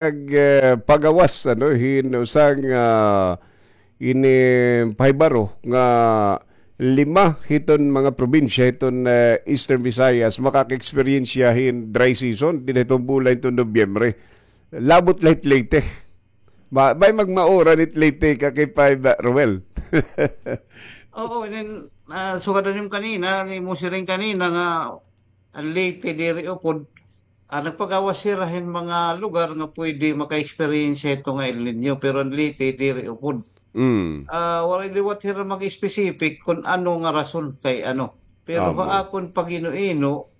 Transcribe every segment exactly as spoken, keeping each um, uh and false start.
nag, eh, pagawas, ano, hin usa nga ini pahibaro nga lima hiton mga probinsya hiton, eh, Eastern Visayas makaka-eksperyensya hin dry season dinhi hiton bulan hiton Nobyembre. Labot la hit Leyte. Ba, bay magmaura hit Leyte, ka K five, ah, Roel. Oo, and then, ah, sugad na nim kanina, ni mo siring kanina nga an Leyte diri upod, ah, nagpagawas hira hin mga lugar nga pwede maka-experience hito nga El Niño, pero an Leyte diri upod. Mm. Ah, waray liwat hira mag-specific kun ano nga rason kay ano. Pero ha akon pag-ino-ino,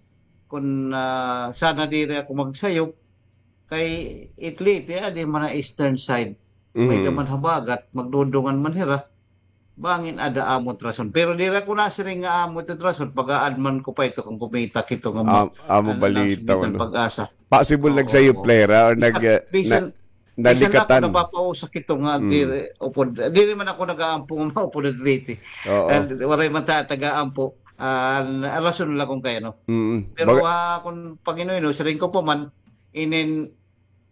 kun, ah, sana diri ako magsayop, kay it Leyte, adi man ha eastern side. May da man habagat, magdudungan man hira. Bangin ada amo it rason. Pero diri ako nasiring nga amo it rason. Pag-aadman ko pa ito kung kumita kito nga Am-, amo balita, ano? Pag-asa. Possible nagsayop la hira or nag-, bisan, na-, bisan ako nalikatan. Napapausa kito nga diri upod. Diri man ako nag-aampo nga maupod it Leyte. Oo. And waray man ta taga-ampo. Ah, rason la kung kay ano. Mm. Pero, ah, kung pag-ino-ino, siring ko pa man, inin,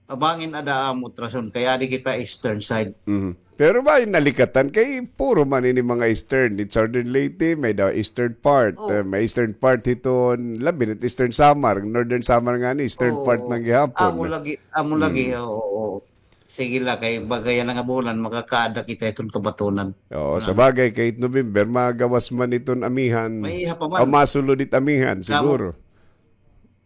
bangin ada amo it rason, kay adi kita eastern side. Mhm. Pero bay nalikatan kay puro man ini mga eastern, it southern Leyte, may da eastern part, eh, may eastern part hiton, labi na it eastern Samar, northern Samar ngani, eastern part man gihapon. Amo lagi, amo lagi, oo, oo. Sige la, kay baga yana nga bulan, makakaada kita hiton kabatonan. Oo, sa bagay, kay it November, magawas man iton amihan. May iha pa man. O masulod it amihan, siguro.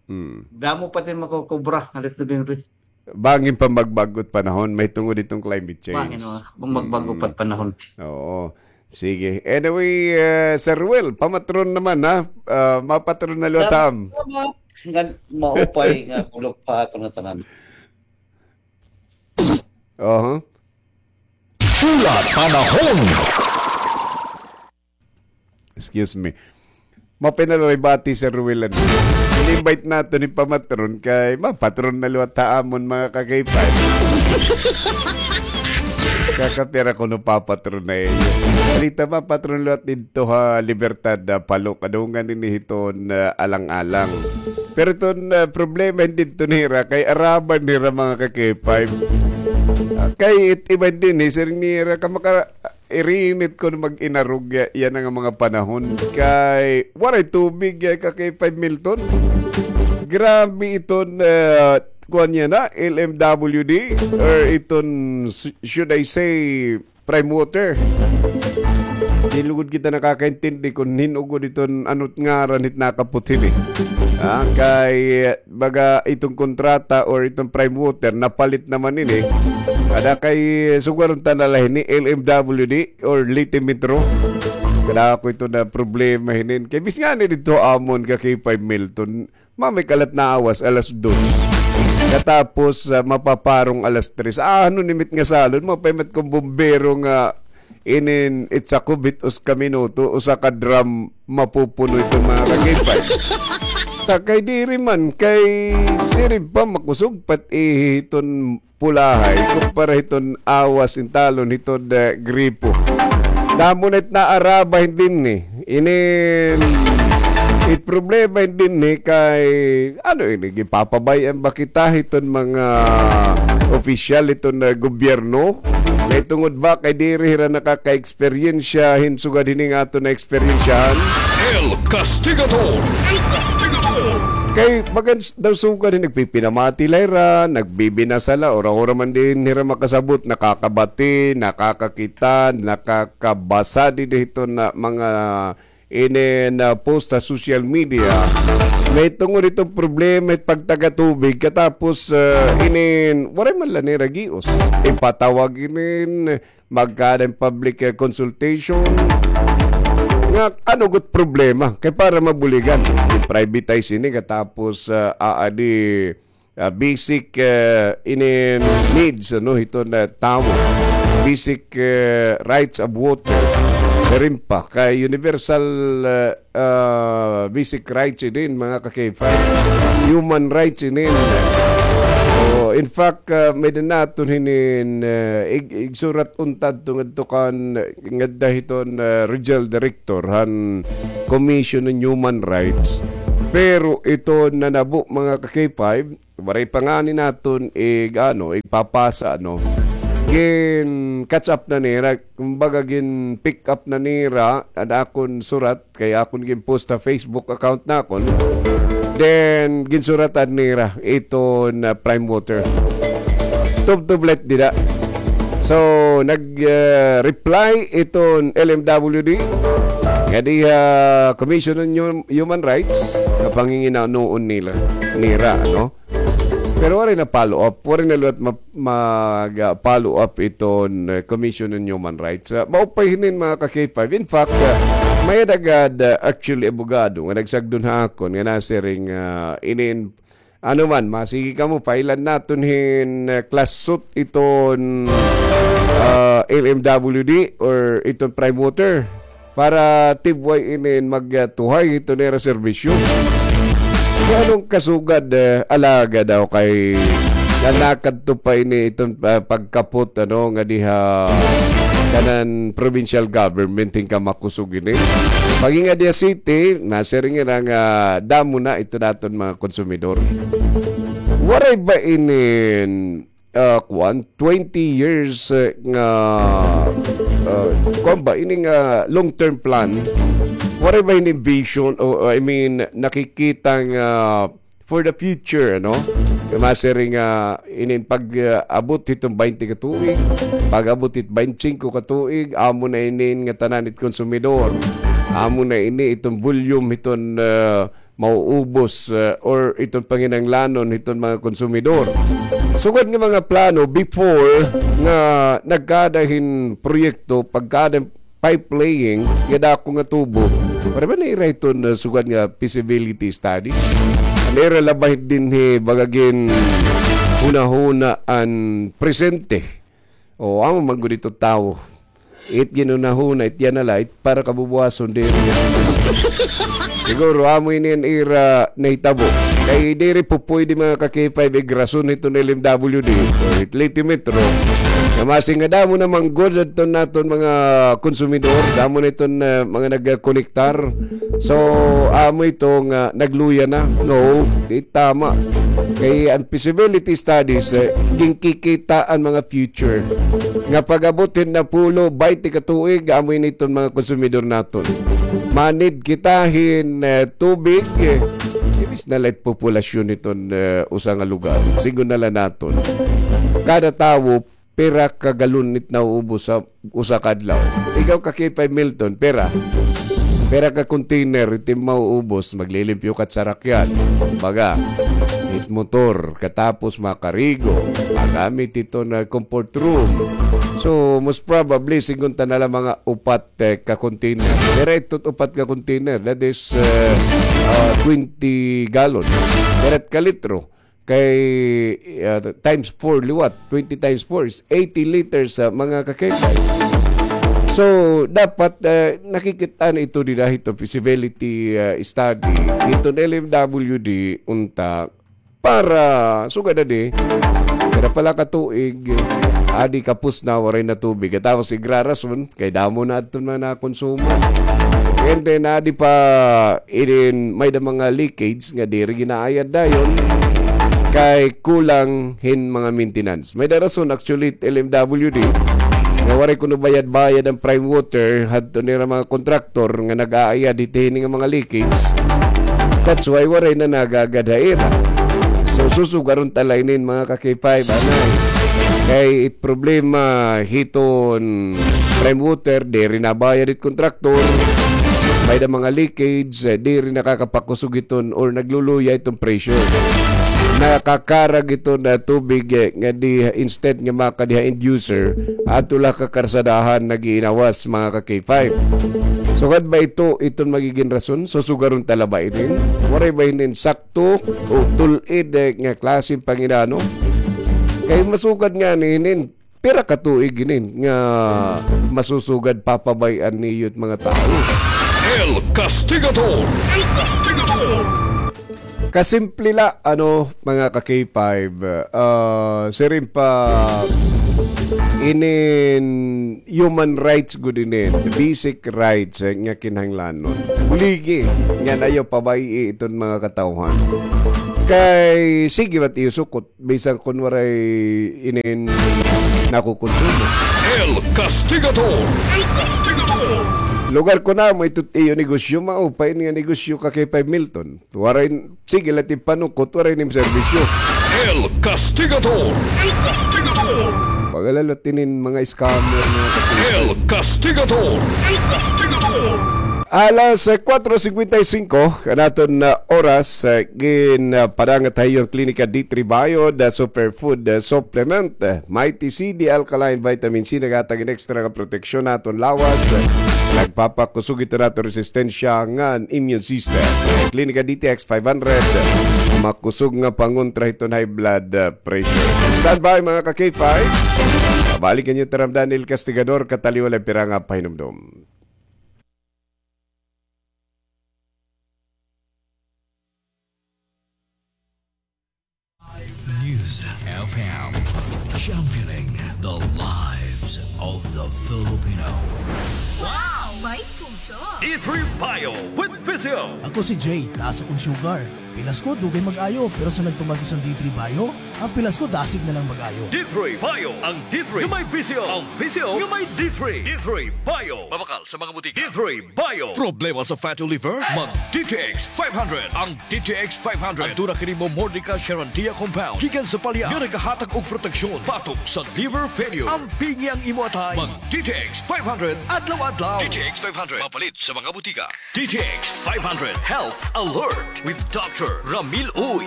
Mm. Damo pa it makukubra, alas November. Bangin pa magbag-o it panahon, mahitungod hiton climate change. Bangin, oh, magbag-o pa it panahon. Oo. Sige. Anyway, eh, Sir Ruel, pamatron naman, ha? Ah, mapatron na liwat ha am. Salamat. Nga maupay nga bulok pa aton nga tanan. Oho. Pula Panahon. Excuse me. Maupay na liwat hi Sir Ruel. In-invite naton hin pamatron kay mapatron na liwat ha amon, mga ka-K five. Kakapira kuno papatron na iyo. Balita mapatron liwat didto ha Libertad, ah, Palo. Kadungan ini hiton, ah, alang-alang. Pero iton, ah, problema hin didto nira kay araban nira, mga ka-K five. Ah, kay it iba dinhi, siring nira, kamaka-, irinit kon mag-inarog yana nga mga panahon kay waray tubig, eh, ka-K five Milton. Grabe iton, eh, kuan yana, L M W D, or iton, sh-, should I say, Prime Water. Di lugod kita nakakaintindi kon hin-o gud iton, ano it ngaran hit nakapot hini. Ah, kay, baga iton kontrata or iton Prime Water, napalit naman ini. Ada kay sugaron ta na la hini, L M W D or Leyte Metro. Kadako ito na problema hinin. Kay bis ngani didto amon, ka-K five Milton, mamay kalat naawas alas dos. Katapos, ah, mapaparong alas tres. Ah, ano nimit nga salon? Mapaimat kon bombero nga inin itsa kubit usa ka minuto, usa ka drum mapupuno iton mga ka-K five. Ta kay diri man, kay siring pa makusog pa it ihi hiton pulahay, kumpara hiton awas in talon hiton, eh, gripo. Damo na it naaraba hin dinhi. Inin, it problema hin dinhi kay, ano ini, gipapabay-an ba kita hiton mga opisyal hiton, eh, gobyerno? Kay tungod ba kay diri hira nakaka-eksperyensya hin sugad hini nga aton naeksperyensyahan? El Castigador! El Castigador! Kay bagan daw sugad hin nagpipinamati la hira, nagbibinasa la, ura-ura man dinhi hira makasabot, nakakabati, nakakakita, nakakabasa dinhi hiton mga inin post ha social media. Mahitungod hiton problema hit pagtaga tubig, katapos, ah, inin, waray man la nira gios. Ipatawag inin, magkaada hin public, eh, consultation. Nga, ano gud problema? Kay para mabuligan, i-privatize ini katapos, ah, aadi, ah, basic, eh, ini needs, ano, hiton tawo. Basic, eh, rights of water. Siring pa, kay universal, eh, ah, basic rights inin, mga ka-K five. Human rights inin. Oh, in fact, ah, may-ada naton hinin, ah, ig-, igsurat unta adto ngadto kan, ngadto hiton, ah, regional director han Commission on Human Rights. Pero ito nanabo, mga ka-K five, Waray pa ngani naton ig-, ano, igpapasa, no? Gin-catch up na nira, kumbaga gin-pick up na nira an akon surat kay akon gin-post ha Facebook account nakon. Then, ginsuratan nira iton Prime Water. Tubtub light dida. So, nag, ah, reply iton L M W D nga diha Commission on Hum-, Human Rights nga panginginanoon nila, nira, no? Pero waray na follow up, waray na liwat ma-, mag, ah, follow up iton, eh, Commission on Human Rights. Ah, maupay hinin, mga ka-K five. In fact, ah, may-ada gad, ah, actually abogado nga nagsagdon ha akon nga nasiring, ah, inin, ano man, masigi kamo, file-an naton hin, ah, class suit iton, ah, L M W D or iton Prime Water para tibway inin magtuhay hito nira serbisyo. Nganong kasugad, eh, alaga daw kay nanakadto pa ini iton, ah, pagkapot, ano, nga diha kanan provincial government hin kamakusog ini. Pag-inga diha city, nasiring nira nga damo na ito naton mga konsumidor. Waray ba inin ah, kuan, twenty years, eh, nga, ah, kuan ba, ini nga long-term plan, waray ba ini vision, o, I mean, nakikita nga for the future, no? Nga masiring nga inin pag, ah, abot hiton baynte ka tuig, pag-abot hit baynte singko ka tuig, amo na inin nga tanan it konsumidor. Amo na ini iton volume hiton, ah, mauubos, eh, or iton panginahanglanon hiton mga konsumidor. Sugad nga mga plano before nga nagkada hin proyekto, pagkada hin pipe laying nga dako nga tubo, para ba naira hiton, eh, sugad nga feasibility studies? Naira la ba dinhi baga ginhunahuna an presente? O, amo man gud ito tawo. It ginhunahuna, it yana la, it para kabubuwason, diri. Siguro, amo ini an ira nahitabo. Kay diri po pwede, mga ka-K five, igrason hiton L M W D o it Leyte Metro. Nga masing nga damo na man gud adton naton mga konsumidor, damo na iton, eh, mga nagkonektar. So, amo ito nga nagluya na. No, di tama. Kay an feasibility studies, eh, ginkikita an mga future. Nga pag-abot hin napulo, baynte ka tuig, amo ini iton mga konsumidor naton. Manid kita hin, eh, tubig, eh, imbis na la it populasyon hiton, eh, usa nga lugar. Sigon na la naton. Kada tawo, pira ka galon it nauubos ha usa ka adlaw? Ikaw ka-K five Milton, pira? Pira ka container it im mauubos, maglilimpyo ka hit sarakyan. Kumbaga, it motor, katapos makarigo, magamit iton comfort room. So, most probably, sigon ta na la mga upat, eh, ka container. Diri ito upat ka container, that is, eh, ah, twenty gallons. Diri ka litro. Kay, ah, times four liwat, twenty times four is eighty liters, ah, mga ka-K five. So, dapat, ah, nakikit-an ito dida hito feasibility, ah, study hiton L M W D unta para sugad adi, kada pala ka tuig, adi kapos na, waray na tubig. Katapos igrarason, kay damo na adton mga nakonsumo. And then, adi pa, inin, may-da mga leakage nga diri ginaayad dayon kay kulang hin mga maintenance. May-da rason, actually, it L M W D nga waray kuno bayad-bayad an Prime Water hadto nira mga kontraktor nga nag-aayad hit hini nga mga leakage. That's why waray na nagagad ha ira. So, susugaron ta la inin, mga ka-K five, anay. Kay it problema hiton Prime Water, diri nabayad it kontraktor. May-da mga leakage, eh, diri nakakapakusog iton or nagluluya iton presyo. Nakakarag iton, ah, tubig, eh, nga di, instead nga makadi ha end user, adto la ha karsadahan nag-iinawas, mga ka-K five. Sugad ba ito iton magigin rason? Susugaron ta la ba inin? Waray ba inin sakto o tul-id, eh, nga klase hin panginano? Kay masugad ngani inin, pira ka tuig inin nga masusugad papabay-an niyo it mga tawo? El Castigador! El Castigador! Kasimple la, ano, mga ka-K five, ah, siring pa inin human rights gud inin, basic rights, eh, nga kinahanglanon. Buligi nga ayaw pabay-i iton mga katawhan. Kay sige man it iyo sukot, bisan kon waray inin nakukonsumo. El Castigador. El Castigador. Lugar ko namo ito it iyo negosyo, maupay ini nga negosyo, Ka K five Milton. Waray, sige la it panukot, waray nim serbisyo. El Castigador. El Castigador. Pagkahilala la it inin mga scammer, mga kapatid. El Castigador. El Castigador. Alas, eh, kuwatro singkwenta y singko, an aton, ah, oras, eh, gin, ah, padangat ha iyo an Klinika D three Bio, the superfood, ah, supplement, eh, Mighty C, the alkaline vitamin C, naghatag hin extra nga proteksyon ha aton lawas. Eh, nagpapakusog ito ha aton resistensya ngan immune system. Klinika D T X five hundred, makusog nga pangontra hiton high blood, ah, pressure. Standby, mga ka K five. Pabalik an iyo taramdan, El Castigador, kataliwan la pira nga pahinumdom. News F M, championing the lives of the Filipino. Wow! May puso! D three Bio with Physio. Ako si Jay, taas akon sugar. Pilas ko, dugay mag-ayo, pero sa nagtumag ko sang D three Bio, ang pilas ko dasig na lang mag-ayo. D three Bio, ang D three nga may Physio, ang Physio nga may D three. D three Bio. Mabakal sa mga butika. D three Bio. Problema sa fatty liver? Mag D T X five hundred. Ang D T X five hundred. Aduna kini Momordica charantia compound gikan sa palya nga nagahatag og proteksyon batok sa liver failure. Ampingi ang imo atay. Mag D T X five hundred adlaw-adlaw. D T X five hundred. Mapalit sa mga butika. D T X five hundred Health Alert with Doctor Ramil Uy.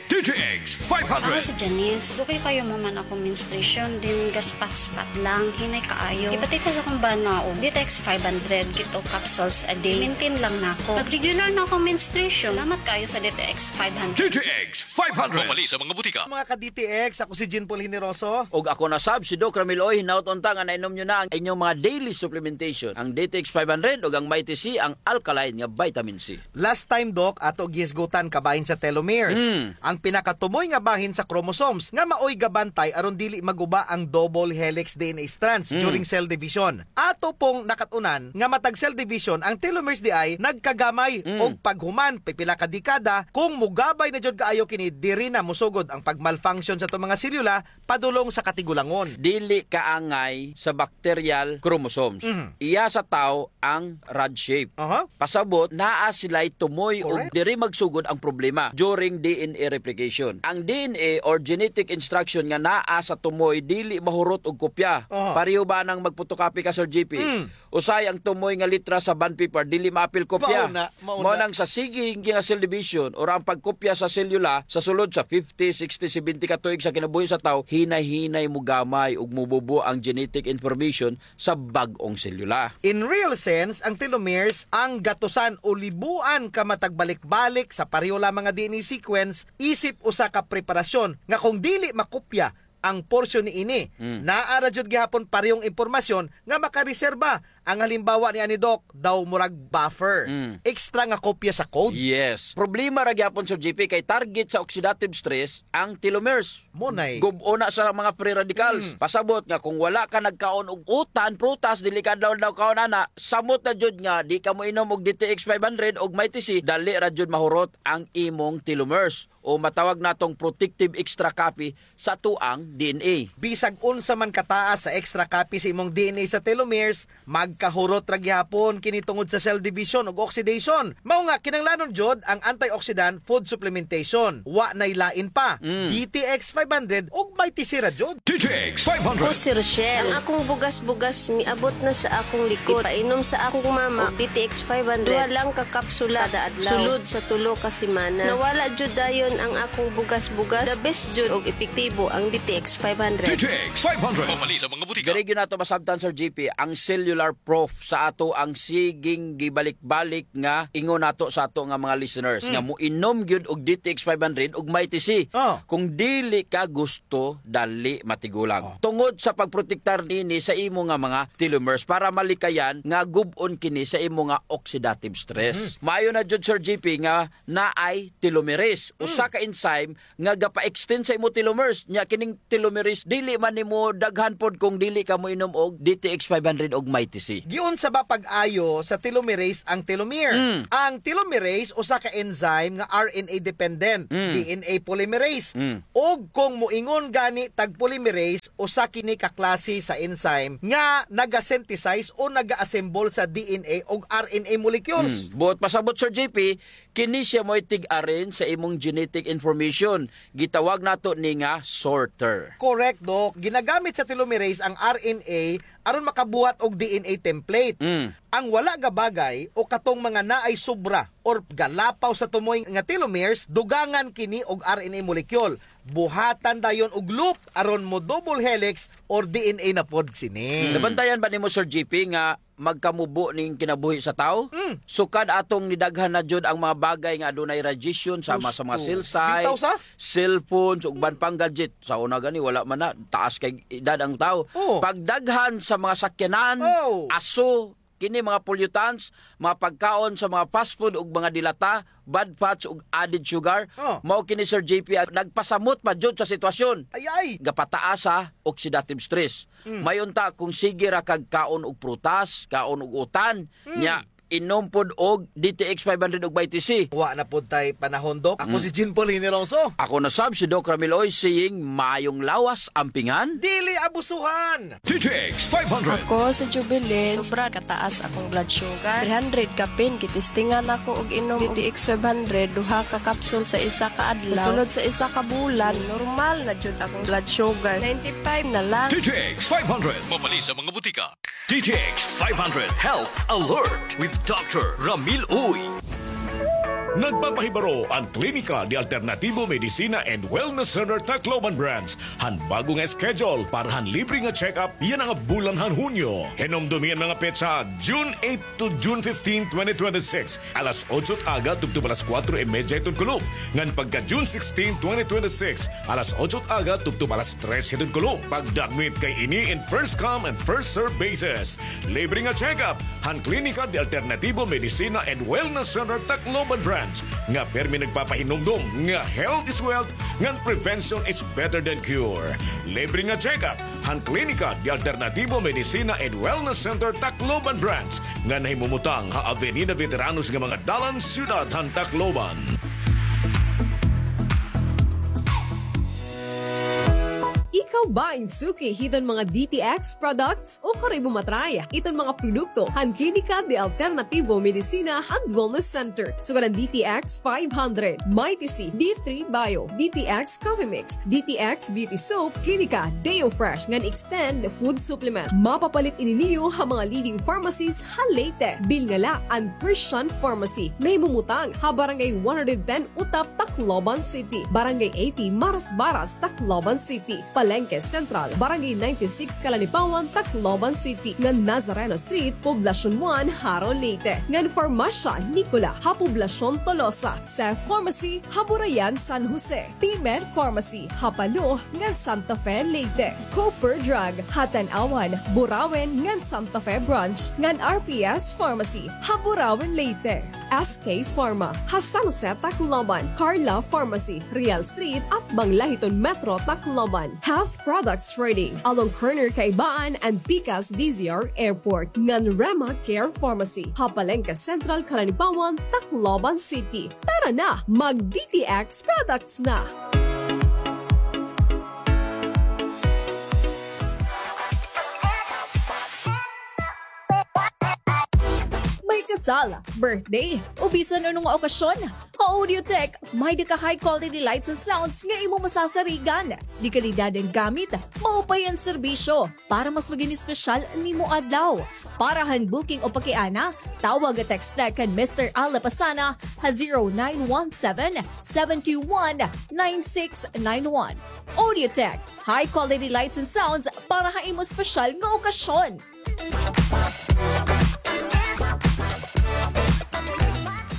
D T X five hundred. Ako si Janice. Dugay kaayo man akon menstruation, then gaspat-spat lang, hinay kaayo. Ipati ko sa akon bana og D T X five hundred, two capsules a day. Maintain lang nako. Nag-regular na akon menstruation. Salamat kaayo sa D T X five hundred. D T X five hundred. Mapalit sa mga butika. Mga ka-D T X, ako si Jean Paul Generoso. Ug ako na sab, si Doc Ramil Uy. Hinaot unta nga nainom niyo na ang inyong mga daily supplementation, ang D T X five hundred ug ang Mighty C, ang alkaline nga vitamin C. Last time, Doc, ato gihisgutan kabahin sa telomeres. Mm. Ang pinakatumoy nga bahin sa chromosomes nga maoy gabantay aron dili maguba ang double helix D N A strands Mm. during cell division. Ato pong nakat-unan nga matag cell division, ang telomeres diay nagkagamay Mm. og paghuman pipila ka dekada. Kung mogabay na jud kaayo kini, diri na mosugod ang pag-malfunction sa ato mga selula padulong sa katigulangon. Dili kaangay sa bacterial chromosomes. Mhm. Iya sa tawo ang rod shape. Aha. Pasabot, naa sila'y tumoy ug Correct. diri magsugod ang problema during D N A replication. Ang D N A or genetic instruction nga naa sa tumoy dili mahurot og kopya. Aha. Pareho ba nang magpotocopy ka, Sir J P? Mm. Usahay ang tumoy nga letra sa bond paper, dili maapil kopya. Mao na, mao Mao na. nang sa sige nga cell division or ang pagkopya sa selula sa sulod sa fifty, sixty, seventy ka tuig sa kinabuhi sa tawo, hinay-hinay mogamay ug mobubo ang genetic information sa bag-ong selula. In real sense, ang telomeres ang gatusan o libuan ka matagbalik-balik sa pareho lamang nga D N A sequence isip usa ka preparasyon nga kung dili makopya ang porsyon niini, Mm. naa ra jud gihapon parehong impormasyon nga makareserba. Ang halimbawa niani, Doc, daw murag buffer. Mm. Extra nga kopya sa code. Yes. Problema ra gihapon, Sir J P, kay target sa oxidative stress ang telomeres. Mo nay. Gub-on na sa mga free radicals. Mm. Pasabot nga kung wala ka nagkaon og utan, prutas, dili ka adlaw-adlaw kaon ana, samot na jud nga di ka moinom og D T X five hundred og Mighty C, dali ra jud mahurot ang imong telomeres, o matawag natong protective extra copy sa atoang D N A. Bisag unsa man kataas sa extra copy sa imong D N A sa telomeres, magkahurot ra gihapon kini tungod sa cell division ug oxidation. Mao nga, kinahanglanon jud ang antioxidant food supplementation. Wa nay lain pa. Mm. D T X five hundred ug Mighty C ra jud. D T X five hundred. Ako si Rochelle. Ang akong bugas-bugas miabot na sa akong likod. Ipainom sa akong mama og D T X five hundred. Duha lang ka kapsula kada adlaw. Sulod sa tulo ka semana. Nawala jud dayon ang akong bugas-bugas. The best jud og epektibo ang D T X five hundred. D T X five hundred. Mapalit sa mga butika. Diri gyud nato masabtan, Sir J P, ang cellular proof sa atoang siging gibalik-balik nga ingon nato sa ato nga mga listeners Mm. nga moinom gyud og D T X five hundred ug Mighty C. Oh. Kung dili ka gusto, dali matigulang. Oh. Tungod sa pagprotektar nini sa imo nga mga telomeres para malikayan nga gub-on kini sa imo nga oxidative stress. Mm. Maayo na jud, Sir J P, nga naay telomerase. Mm. usa ka enzyme nga gapa-extend sa imo telomeres. Nya kining telomerase, dili man nimo daghan pod kung dili ka moinom og D T X five hundred og Mighty C. Giunsa ba pag-ayo sa telomerase ang telomere? Mm. Ang telomerase usa ka enzyme nga R N A dependent, Mm. D N A polymerase. Mm. Ug kung moingon gani tag polymerase, usa kini ka klase sa enzyme nga naga-synthesize o naga-assemble sa D N A ug R N A molecules. Mm. Buot pasabot, Sir J P, kini siya mao'y tig-arrange sa imong genetic information. Gitawag nato ni nga sorter. Correct, Doc. Ginagamit sa telomerase ang R N A aron makabuhat og D N A template. Mm. Ang wala gabagay o katong mga naay sobra or galapaw sa tumoy nga telomeres, dugangan kini og R N A molecule. Buhatan dayon og loop aron mo double helix or D N A na pod sini. Mm. Nabantayan ba nimo, Sir J P, nga magkamubo ning kinabuhi sa tawo. Mm. Sukad atong nidaghan na jud ang mga bagay nga adunay radiation, sama sa mga Gusto. Cell site, Bitaw sa? Cellphones, ug uban pang gadget. Sa una gani, wala man na, taas kay edad ang tawo. Oh. Pagdaghan sa mga sakyanan, Oh. aso, kini mga pollutants, mga pagkaon sa mga fast food ug mga dilata, bad fats ug added sugar. Oh. Mao kini, Sir J P, ang nagpasamot pa jud sa sitwasyon. Ay, ay. Gapataas sa oxidative stress. Mm. May unta kung sige ra kag kaon og prutas, kaon og utan, Mm. nya inom pod og D T X five hundred ug Mighty C. Wa na pod tay panahon, Doc. Ako Mm. si Jean Paul Hinilongso. Ako na sab si Doc Ramil Oy, saying, maayong lawas, ampingan. Dili abusuhan. D T X five hundred. Ako si Jubilin. Sobra kataas akong blood sugar. Three hundred kapin, gitistingan ako og inom D T X five hundred, duha ka capsule sa isa ka adlaw. Sulod sa isa ka bulan, normal na jud akong blood sugar. Ninety-five na lang. D T X five hundred. Mabali sa mga butika. D T X five hundred Health Alert with Doctor Ramil Uy. Nagpapahibaro an Klinika de Alternativo Medicina and Wellness Center Tacloban Branch han bago nga schedule para han libre nga check-up yana nga bulan han Hunyo. Hinumdomi an mga petsa, June eight to June fifteen, twenty twenty-six, alas otso it aga tubtob alas kuwatro y medya hiton kulop. Ngan pagka June sixteen, twenty twenty-six, alas otso it aga tubtob alas tres hiton kulop. Pagdagmit kay ini in first come and first serve basis. Libre nga check-up han Klinika de Alternativo Medicina and Wellness Center Tacloban Branch nga pirmi nagpapahinumdom nga health is wealth ngan prevention is better than cure. Libre nga check-up han Klinika de Alternativo Medicina and Wellness Center Tacloban Branch nga nahimumutang ha Avenida Veteranos nga mga dalan, siyudad han Tacloban. Ikaw ba in suki hiton mga D T X products? Ukon imo ma-try iton mga produkto han Klinika de Alternativo Medicina and Wellness Center. Sugad an D T X five hundred, Mighty C, D three Bio, D T X Coffee Mix, D T X Beauty Soap, Klinika Deo Fresh ngan Extend Food Supplement. Mapapalit ini niyo ha mga leading pharmacies ha Leyte. Bilngala an Christian Pharmacy. Nahimumutang ha Barangay one hundred ten Utap, Tacloban City, Barangay eighty Marasbaras, Tacloban City, Palengke Central, Barangay ninety-six Calanipawan, Tacloban City, ngan Nazareno Street, Poblacion one, Jaro, Leyte, ngan Farmasya Nicola ha Poblacion Tolosa, Seth Pharmacy ha Burayan, San Jose, P-Med Pharmacy ha Palo ngan Santa Fe, Leyte, Cooper Drug ha Tanauan, Burauen ngan Santa Fe Branch, ngan R P S Pharmacy ha Burauen, Leyte. S K Pharma ha San Jose, Tacloban, Carla Pharmacy, Real Street, atbang la hiton Metro Tacloban, Health Products Trading along corner Kaibaan and Pikas D Z R Airport, ngan Rema Care Pharmacy ha Palengke Central, Calanipawan, Tacloban City. Tara na, mag-D T X products na! May kasal, birthday, o bisan ano nga okasyon, ha Audiotech, may-ada ka high quality lights and sounds nga imo masasarigan. De kalidad an gamit, maupay an serbisyo. Para mas maging espesyal nimo adlaw. Para han booking o pakiana, tawag o text na kan Mister Al Lapasana ha zero nine one seven, seven two one, nine six nine one. Audiotech, high quality lights and sounds para ha imo espesyal nga okasyon.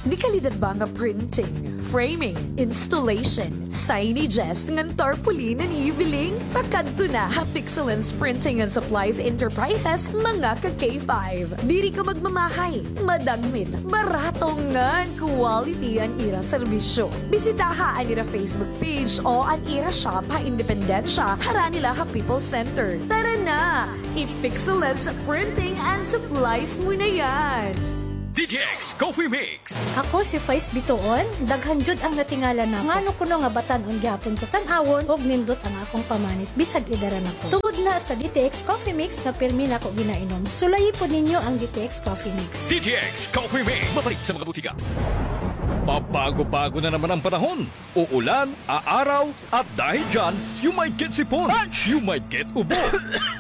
Di Kalidad ba nga printing, framing, installation, signages ngan tarpaulin an ibiling? Pakadto na ha Pixelens Printing and Supplies Enterprises, mga ka K five. Diri ka magmamahay, madagmit, barato ngan quality an ira serbisyo. Bisitaha an ira Facebook page o an ira shop ha Independencia, harani la ha People's Center. Tara na! I-Pixelens Printing and Supplies mo na yan! D T X Coffee Mix. Ako si Faiz Bitoon, daghan jud ang natingala nako. Ngano kuno nga batan-on gihapon ko tan-awon ug nindot ang akong pamanit bisag edaran ako. Tungod na sa D T X Coffee Mix nga pirmi nako ginainom. Sulayi pod ninyo ang D T X Coffee Mix. D T X Coffee Mix. Mapalit sa mga butika. Pabago-bago na naman ang panahon. Uulan, aaraw, at dahil dyan, you might get sipon, you might get ubo,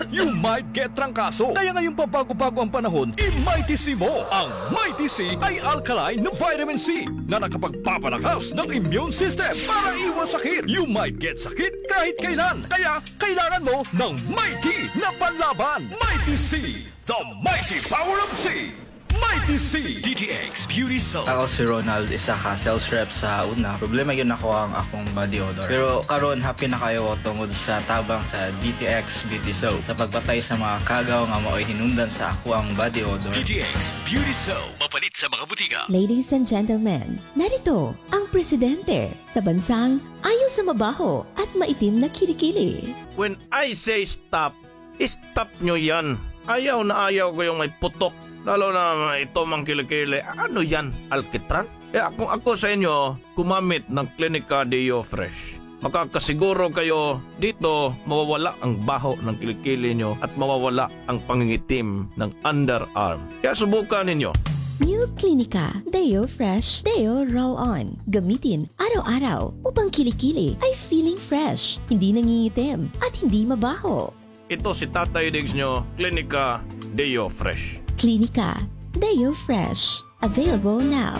you might get trangkaso. Kaya ngayong pabago-bago ang panahon, i-Mighty C mo. Ang Mighty C ay alkaline na vitamin C na nakapagpapalakas ng immune system para iwas sakit. You might get sakit kahit kailan. Kaya kailangan mo ng Mighty na panlaban. Mighty C, the mighty power of C. Mighty C. D T X Beauty Soap. Ako si Ronald, isa ka sales rep sa una. Problema gyud nako ang akong body odor. Pero karon, happy na kaayo ako tungod sa tabang sa D T X Beauty Soap sa pagpatay sa mga kagaw nga maoy hinungdan sa ako ang body odor. D T X Beauty Soap. Mapalit sa mga butika. Ladies and gentlemen, narito ang presidente sa bansang ayaw sa mabaho at maitim na kilikili. When I say stop, stop nyo yan. Ayaw na ayaw ko yung may putok. Lalo na ito mang kilikili. Ano yan? Alkitran? Kaya kung ako sa inyo, gumamit ng Clinica Deo Fresh. Makakasiguro kayo dito mawawala ang baho ng kilikili nyo at mawawala ang pangingitim ng underarm. Kaya subukan ninyo. New Clinica Deo Fresh Deo Roll On. Gamitin araw-araw upang kilikili ay feeling fresh, hindi nangingitim, at hindi mabaho. Ito si Tatay Diggs nyo, Clinica Deo Fresh. Clinica Deo Fresh. Available now.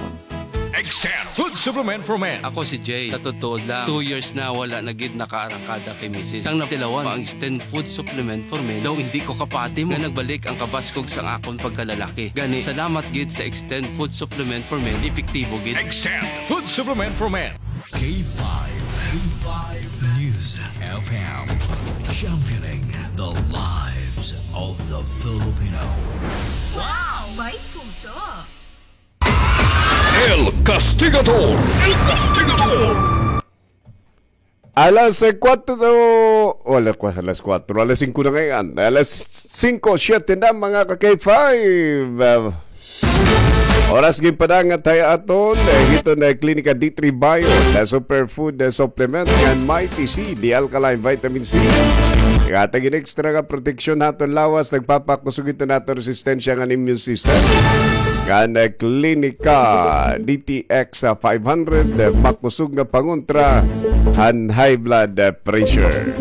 Extend Food Supplement for Men. Ako si Jay. Sa totoo lang, two years na wala na gid nakaarangkada kay misis. Sang natilawan, ang Extend Food Supplement for Men daw hindi ko kapati mo. Nga nagbalik ang kabaskog sang akon pagkalalaki. Gani, salamat gid sa Extend Food Supplement for Men, epektibo gid. Extend Food Supplement for Men. K five, K five News F M, championing the lives of the Filipino. Wow! May puso! El Castigador! El Castigador! Alas, eh, kuwatro, o, alas, alas kuwatro, alas singko na ngay-an. Alas singko, siyete na, mga ka-K five. Ah, oras ginpadangat ha aton, eh, hiton, eh, Klinika D three Bio, the superfood, eh, supplement, ngan Mighty C, the alkaline vitamin C. Ihatag hin extra nga proteksyon ha aton lawas, nagpapakusog hiton aton resistensya ngan immune system. Ngan, eh, Klinika D T X five hundred, eh, makusog nga pangontra han high blood, eh, pressure.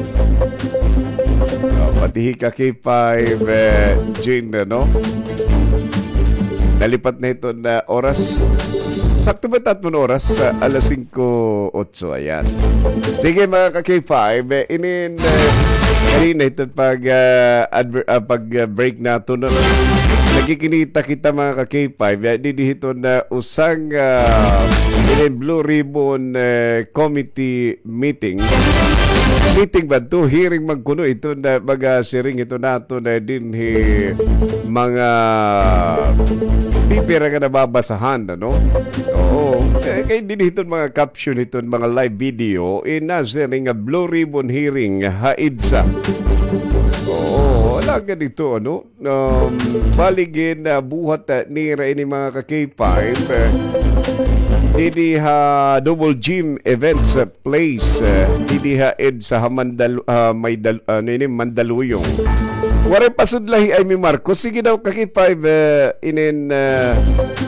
Oh, pati hi ka K five, eh, Jane, no? Nalipat na hiton oras. Sakto ba it aton oras? Sa alas singko otso, ayan. Sige, mga ka-K five, eh, inin, eh, kanina hiton pag, ah, adver-, ah, pag, ah, break naton, no? Nagkikinita kita, mga ka-K five, eh, didi hiton, ah, usang, ah, inin Blue Ribbon, eh, Committee meeting. Meeting ba ito? Hearing man kuno ito na mga siring ito naton dinhi mga bibira nga nababasahan, ano? Oo. Kay, kay dinhi iton mga caption iton mga live video, ina siring nga Blue Ribbon Hearing ha EDSA. Oo, wala ka dito, ano? Um, bali gin, ah, buhat, ah, nira ini mga ka-K five, eh, didi ha Double Gym Events, ah, Place, eh, didi ha EDSA ha Mandal-, ah, may dal-, ano ini, Mandaluyong. Waray pasudla hi Imee Marcos. Sige daw, ka-K five, eh, inin, eh,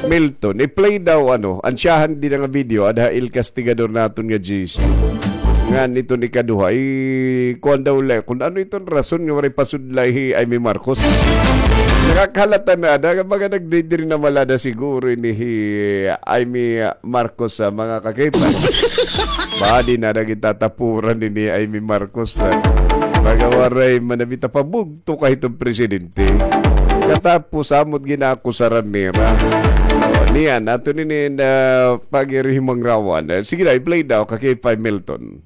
Milton. I-play daw, ano, ansyahan dida nga video, ada ha El Castigador naton nga G C. Ngan iton ikaduha, i-, kuan daw la, kun ano iton rason nga waray pasudla hi Imee Marcos. Nakakahalata na, ada nga mga nagdidiri na malada siguro ini hi Imee Marcos sa mga ka-K five. Badi na nagitatapuran ini Imee Marcos, ah. Pagawaray manabita pabugto ka hiton presidente. Katapos, amo it gin-akusaran nira. O, niyan, aton ini na pag-irihimangrawan. Eh, sige na, i-play daw, ka K five Milton.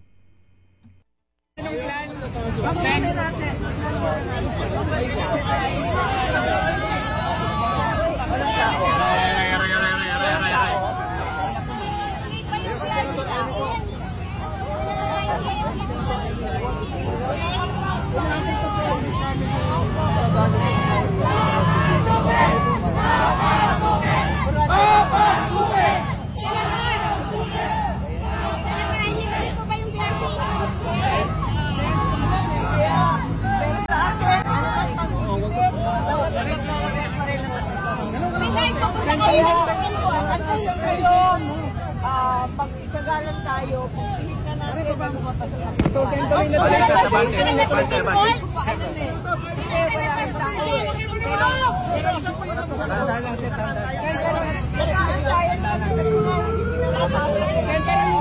Sagalan tayo, pagpilitan natin. So, sento rin na sento. Bante, bante, bante. Sento rin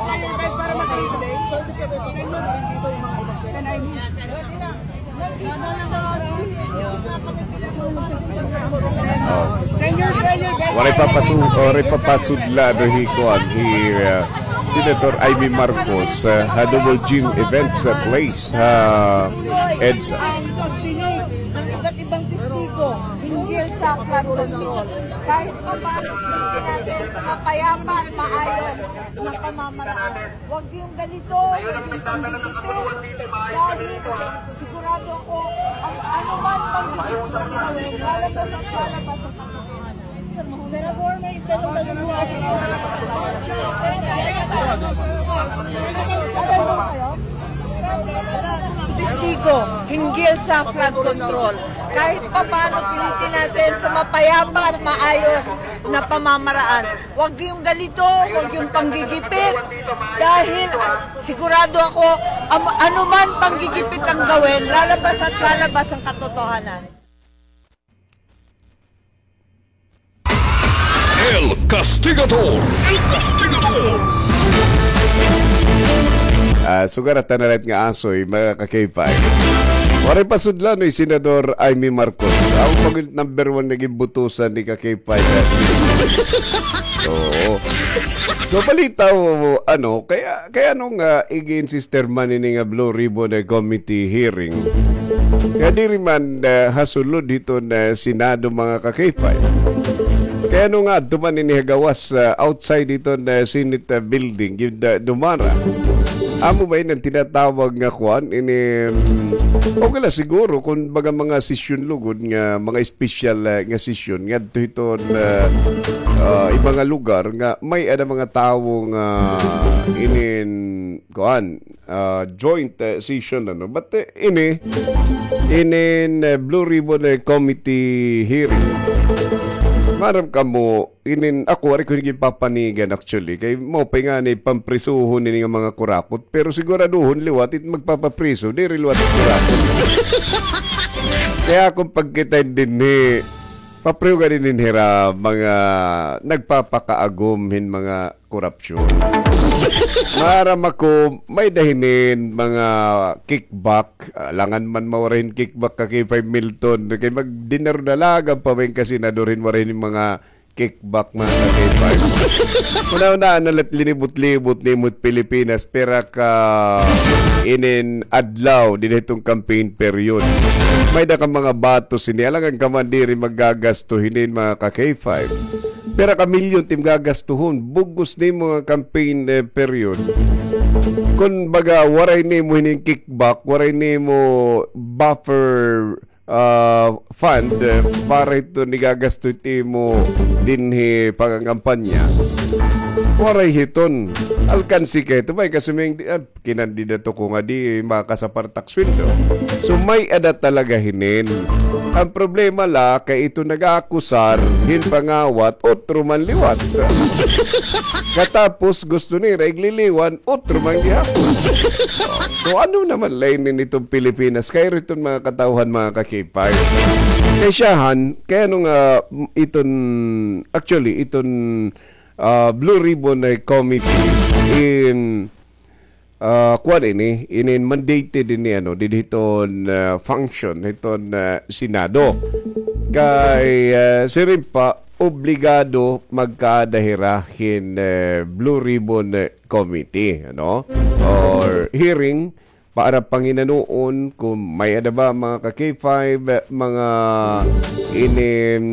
tayo, guys, para makita. So, ibig sabihin, sento na rin dito yung mga iba. Sento. Oh. Waray papasu-, waray papasudla do hi kuan, hi, uh, Senator Imee Marcos, uh, ha Double Gym Events, uh, Place, ha EDSA. Ang pagdinig ng iba't ibang testigo hinggil sa flood control. Kahit pa paano, pinili natin sa mapayapa at maayos na pamamaraan. Huwag yung ganito, huwag yung panggigipit. Dahil sigurado ako, ang anuman pang lalabas at lalabas ang katotohanan. Senador, may itanong na rin po kasi. Testigo hinggil sa flood control. Kahit papaano, pilitin natin sa mapayapa at maayos na pamamaraan. Huwag yung ganito, huwag yung panggigipit. Dahil, ah, sigurado ako, am-, anuman panggigipit ang gawin, lalabas at lalabas ang katotohanan. El Castigador! El Castigador! Ah, sugad ta na rin nga asoy, mga ka-K five. Waray pasudlan ni Senador Imee Marcos. Ako pag number one naging butusan ni ka-K five. Oo. So, balita mo, ano, kaya, kaya nung, ah, ig-insist man ini nga Blue Ribbon, eh, Committee hearing, kaya diri man, ah, ha sulod hiton, ah, Senado, mga ka-K five. Kaya nung adto man ini ha gawas, ah, outside hiton, ah, Senate, ah, building, yun, ah, dumara. Amo ba ini an tinatawag nga kuan? Ini, mm, okay la siguro kung baga mga sesyon lugod nga, mga special, ah, nga sesyon ngadto hiton, ah, ah, iba nga lugar nga may-ada mga tawo nga inin, kuan, ah, joint, ah, session, ano. But, eh, ini, inin, ah, Blue Ribbon, eh, Committee hearing. Maaram kamo, inin, ako, waray ko ginpapanigan, actually. Kay maupay ngani pamprisuhon ini nga mga kurapot. Pero siguraduhon liwat it magpapapriso, diri liwat it kurapot. Kaya akon pagkita dinhi, papriho gad ini hira mga nagpapakaagom hin mga korupsyon. Maaram ako, may-ada hinin mga kickback. Alangan man mawaray hin kickback, ka-K five Milton. Kay magdinaro na la gad pa ba hin ka-senador hin waray hin mga kickback, mga ka-K five. Una-una, na la it linibot-libot nimo it Pilipinas, pira ka inin adlaw dinhi hiton campaign period. May-ada ka mga batos hini, alangan ka man diri maggagasto hinin, mga ka-K five. Pira ka milyon it im gagastuhon, bug-os nimo nga campaign, eh, period. Kon baga, waray nimo hinin kickback, waray nimo buffer, ah, fund, eh, para hiton igagasto it imo dinhi pangangampanya. Waray hiton. Alkansi kay ito, may kasuming di-, ah, kinandidato ko nga di makasapar it ak sweldo. So, may-ada talaga hinin. An problema la, kay ito nag-aakusar hin pangawat, otro man liwat. Katapos gusto nira igliliwan, otro man gihapon. So, ano naman la ini hiton Pilipinas? Kay riton mga katawhan, mga ka-K five. Kay siyahan, kay ano nga, iton, actually, iton, ah, Blue Ribbon, eh, Committee in, ah, kuan ini, inin mandated ini, ano, didi hiton, ah, function, hiton, ah, Senado. Kay, ah, siring pa, obligado magkaada hira hin, eh, Blue Ribbon, eh, Committee, ano? Or hearing para panginanuon kon may-ada ba, mga ka-K five, eh, mga inin,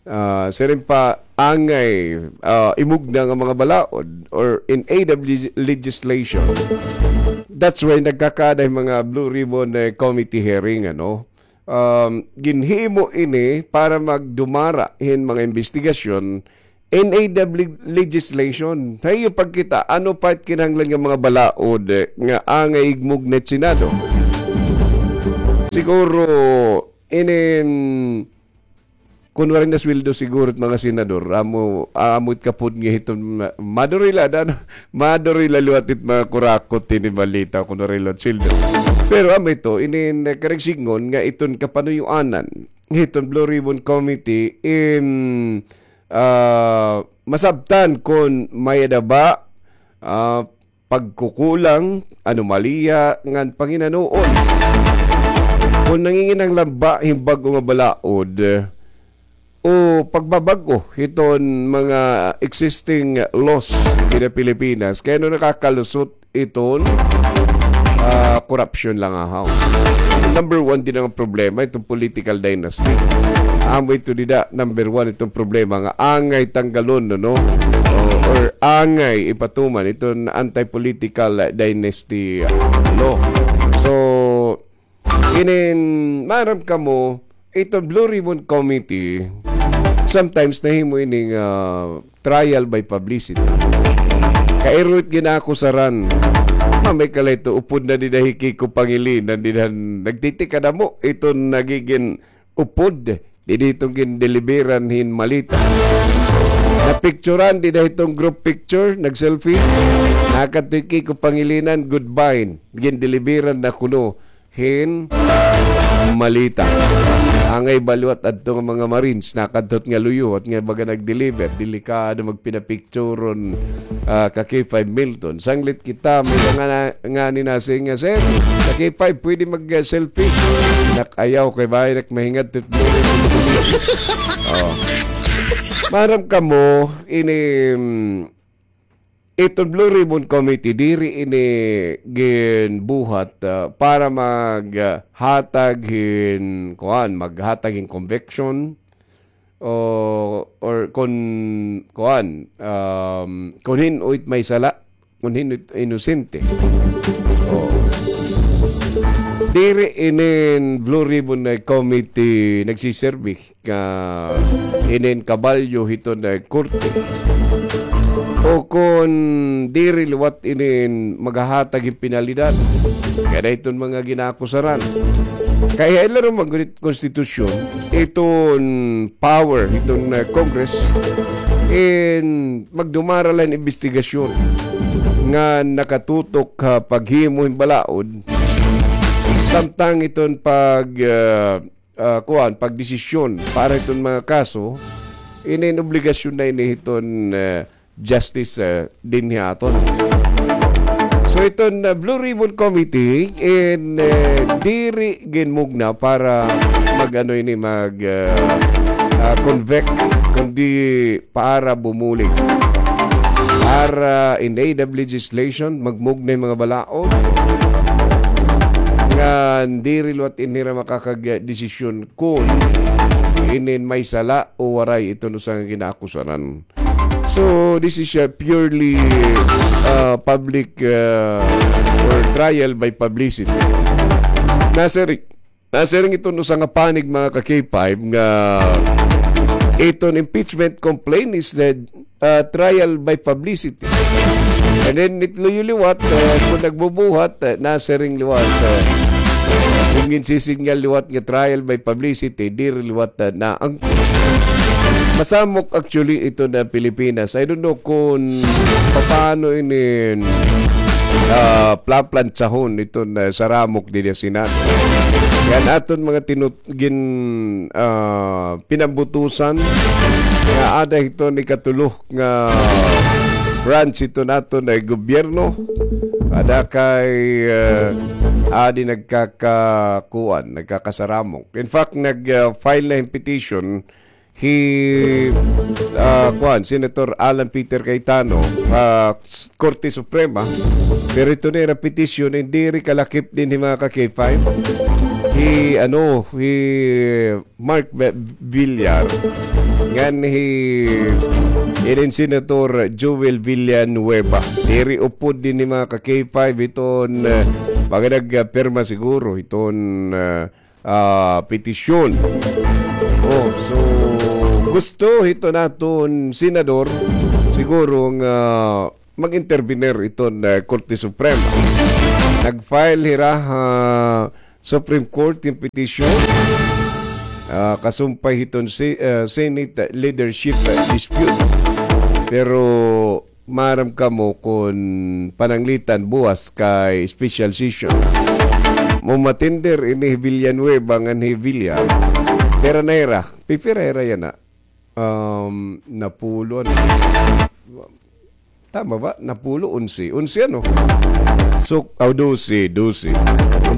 ah, siring pa, angay, ah, imugna nga mga balaod or in aid of legis-, legislation. That's why nagkakaada hin mga Blue Ribbon, eh, Committee hearing, ano? Um, ginhimo ini para magdumara hin mga imbestigasyon in aid of leg-, legislation. Sa iyo pagkita, ano pa it kinahanglan nga mga balaod, eh, nga angay igmugna it Senado? Siguro, inin, kun waray nasweldo siguro it mga senador, amo, amo it kapud nga hiton ma-, madurila, dan, madurila liwat it mga kurakot hini balita kun waray liwat sweldo. Pero amo ito, inin, eh, karuyag sidngon nga iton kapanuyuanan hiton Blue Ribbon Committee in, ah, masabtan kon may-ada ba, ah, pagkukulang, anomalya ngan panginanuon. Kon nanginginahanglan ba hin bag-o nga balaod o pagbabag-o hiton mga existing laws dida Pilipinas, kay ano nakakalusot iton, ah, korupsyon la ngahaw. Number one dida nga problema, iton political dynasty. Amo ito dida, number one iton problema nga angay tanggalon, no, no? O, or angay ipatuman iton anti-political dynasty law. So, inin, maaram kamo, iton Blue Ribbon Committee, sometimes nahimo ini nga trial by publicity. Kay iro it ginaakusaran. Mamay ka la ito, upod na dida hi Kiko Pangilinan, dida nagtitikadamo iton nagigin upod, dida iton gindeliveran hin maleta. Napicturan dida iton group picture, nag-selfie. Nakadto hi Kiko Pangilinan, goodbye. Gindeliveran na kuno hin maleta. Angay ba liwat adto nga mga Marines, nakadto nga luyo, at nga baga nag-deliver, delikado magpinapicturon, ah, ka K five Milton. Sanglit kita, may mga na, nga ni nasiring nga, "Sir, ka K five, pwede mag-selfie?" Nak, ayaw, kay bangin ak mahingadtot. Oh. Maaram kamo, ini, mm, iton Blue Ribbon Committee, diri ini ginbuhat, ah, para mag, ah, hatag hin, kuan, maghatag hin conviction, o, or kon, kuan, um, kon hin-o it may sala, kon hin-o it inosente. O. Diri inin Blue Ribbon nga committee nagsiserbi nga inin kabalyo hiton nga korte. O kon diri liwat inin maghahatag hin penalidad kada hiton mga ginaakusaran. Kay ha ila ruman gud it konstitusyon, iton power hiton, ah, Congress in magdumara la hin imbestigasyon nga nakatutok ha paghimo hin balaod, samtang iton pag, ah, ah, kuan, pagdesisyon para hiton mga kaso, inin obligasyon na ini hiton, ah, justice, ah, dinhi ha aton. So, iton, ah, Blue Ribbon Committee in, ah, diri ginmugna para mag-ano ini, mag, ah, ah, convict, kundi para bumulig. Para in aid of legislation, magmugna hin mga balaod nga diri liwat in hira makakagdesisyon kon inin may sala o waray iton usa nga ginaakusaran. So, this is a purely, uh, public, uh, or trial by publicity. Nasiring, nasiring iton usa nga panig, mga ka-K five, nga iton impeachment complaint is the, uh, trial by publicity. And then, it luyo liwat, uh, kon nagbubuhat, uh, nasiring liwat, uh, kon ginsisidngan liwat nga trial by publicity, diri liwat, uh, na ang masamok actually iton Pilipinas. I don't know kon papaano inin, ah, plaplantsyahon iton, ah, saramok dida Senado. Ngan aton mga tinut-, gin-, ah, pinambutusan nga ada hiton ikatulo nga branch hiton aton nga gobyerno. Ada kay, ah, adi nagkakakuan, nagkakasaramok. In fact, nag, ah, file na hin petition hi, ah, kuan, Senator Alan Peter Cayetano, ah, s-, Korte Suprema. Pero ito na ira petisyon, hindi rin kalakip din hi mga ka-K five. Hi, ano, hi Mark Vi-, Villar, ngan hi, inin Senator Joel Villanueva. Diri upod din hi mga ka-K five iton, ah, mga nagpirma siguro iton, ah, ah, petisyon. Oh, so, gusto hiton aton senador, siguro nga mag-intervenir iton, ah, Korte Suprema. Nag-file hira ha Supreme Court hin petisyon, ah, kasumpay hiton si, ah, Senate leadership, ah, dispute. Pero maaram kamo kon pananglitan buwas kay special session. Mo matender ini hi Villanueva ngan hi Villar. Pira na hira? Pipira hira yana? Um, napulo, ano? Tama ba? Napulo, onse. Onse, ano? So, aw, dose, dose.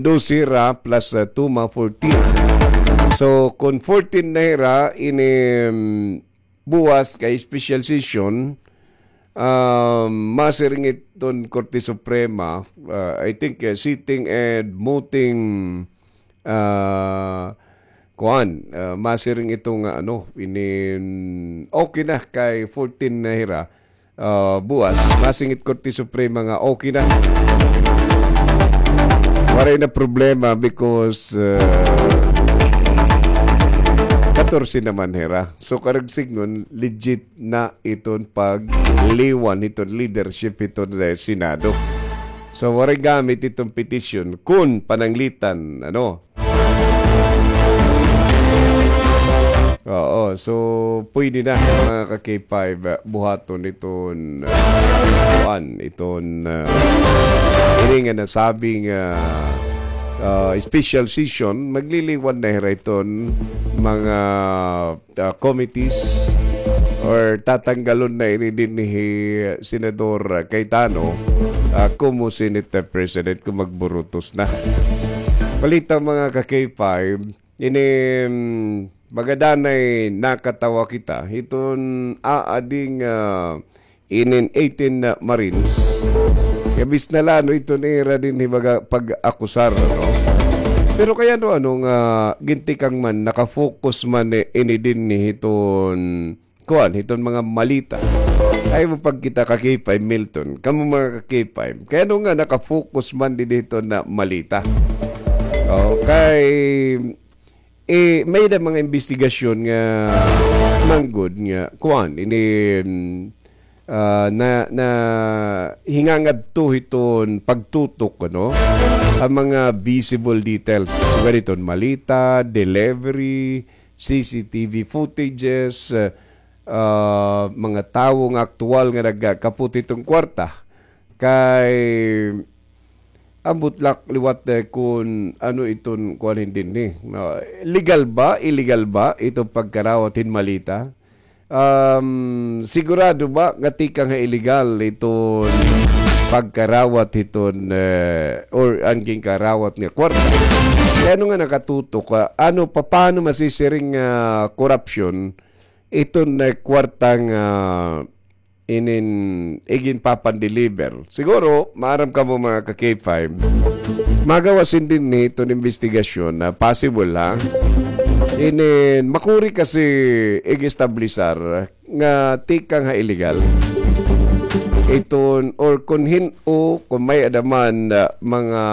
Dose hira plus, ah, two, mga fourteen. So, kon fourteen na hira, ini, um, buwas kay special session, um, masiring iton Korte Suprema, uh, I think, uh, sitting and mooting, uh, kuan, uh, masiring ito nga, ano, inin, okay na kay fourteen na hira, uh, buwas, masingit Korte Suprema nga okay na. Waray na problema because, uh, katorse naman hira. So, karag sidngon, legit na iton pagliwan hiton leadership hiton, eh, Senado. So, waray gamit iton petisyon kon pananglitan, ano. Oo, so, pwede na, mga ka-K five, ah, buhaton iton, ah, kuan, iton, ah, ini nga nasabing, ah, ah, special session, magliliwan na hira iton mga ah, committees or tatanggalon na ini dinhi hi Senador Cayetano, ah, komo Senate President kon magburutos na. Balita, mga ka-K five, ini, mm, magadanay nakatawa kita hiton aading, ah, inin eighteen na Marines. Kabis na la, ano, iton ira dinhi baga pag-akusar, no? Pero kay ano, ano nga gintikang man, naka-focus man, eh, ini dinhi hiton, kuan, hiton mga malita. Ay mo pagkita ka-K five, Milton. Kamo mga ka-K five. Kay ano nga naka-focus man dinhi hiton na malita? Okay. Eh, may-ada mga imbestigasyon nga manggod nga, kuan, ini, mm, ah, na, na hingangadto hiton pagtutok, ano, an mga visible details. Sugad hiton malita, delivery, C C T V footages, ah, ah, mga tawo nga aktuwal nga nagkapot hiton kwarta. Kay ambot la liwat, eh, kon ano iton kuan dinhi. Ah, legal ba? Illegal ba iton pagkarawat hin malita? Um, sigurado ba nga tikang ha illegal iton pagkarawat hiton, eh, or an ginkarawat nga kwarta? Kay ano nga nakatutok, ah, ano, papaano masisiring nga korupsyon iton, eh, kwarta nga inin iginpapandeliver. Siguro, maaram kamo mga ka-K five, magawas hin dinhi iton imbestigasyon na possible, ha? Inin makuri kasi ig-establisar nga tikang ha illegal iton or kon hin-o, kon may-ada man, ah, mga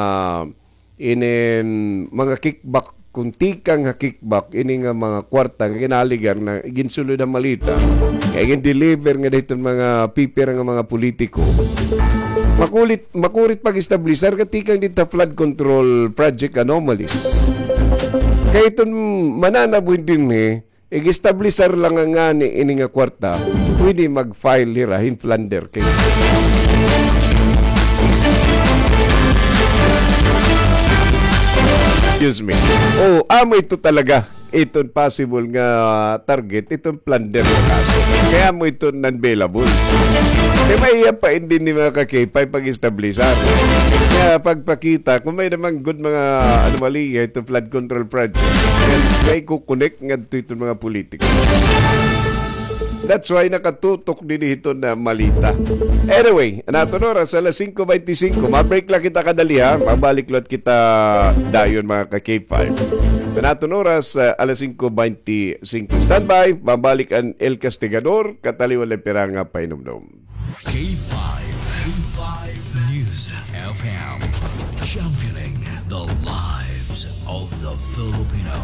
inin mga kickback, kon tikang ha kickback, ini nga mga kwarta nga ginaligar na ginsulod ha malita, kay gin-deliver ngada hiton mga pipira nga mga politiko. Makulit, makurit pag-establisar nga tikang didto ha flood control project anomalies. Kay iton mananabo dinhi, ig-establisar la nga ngani ini nga kwarta, pwede mag-file hira hin plunder case. Excuse me. Oh, amo ito talaga. Iton possible nga target, iton plunder nga kaso. Kay amo iton non-bailable. Kay maiha pa ini ni mga ka-K five pag-establisan. Kaya pagpakita, kung may naman good mga anomalya, ito flood control project, may kukunik ngadto iton mga politiko. That's why nakatutok dinhi iton Malita. Anyway, an aton oras, alas singko beintisinko. Ma-break la kita kadali, ha? Mabalik liwat kita dayon, mga ka-K five. An aton oras, ah, alas singko beintisinko. Standby, mabalik an El Castigador, kataliwan la pira nga pahinumdom. K five, K five News F M, championing the lives of the Filipino.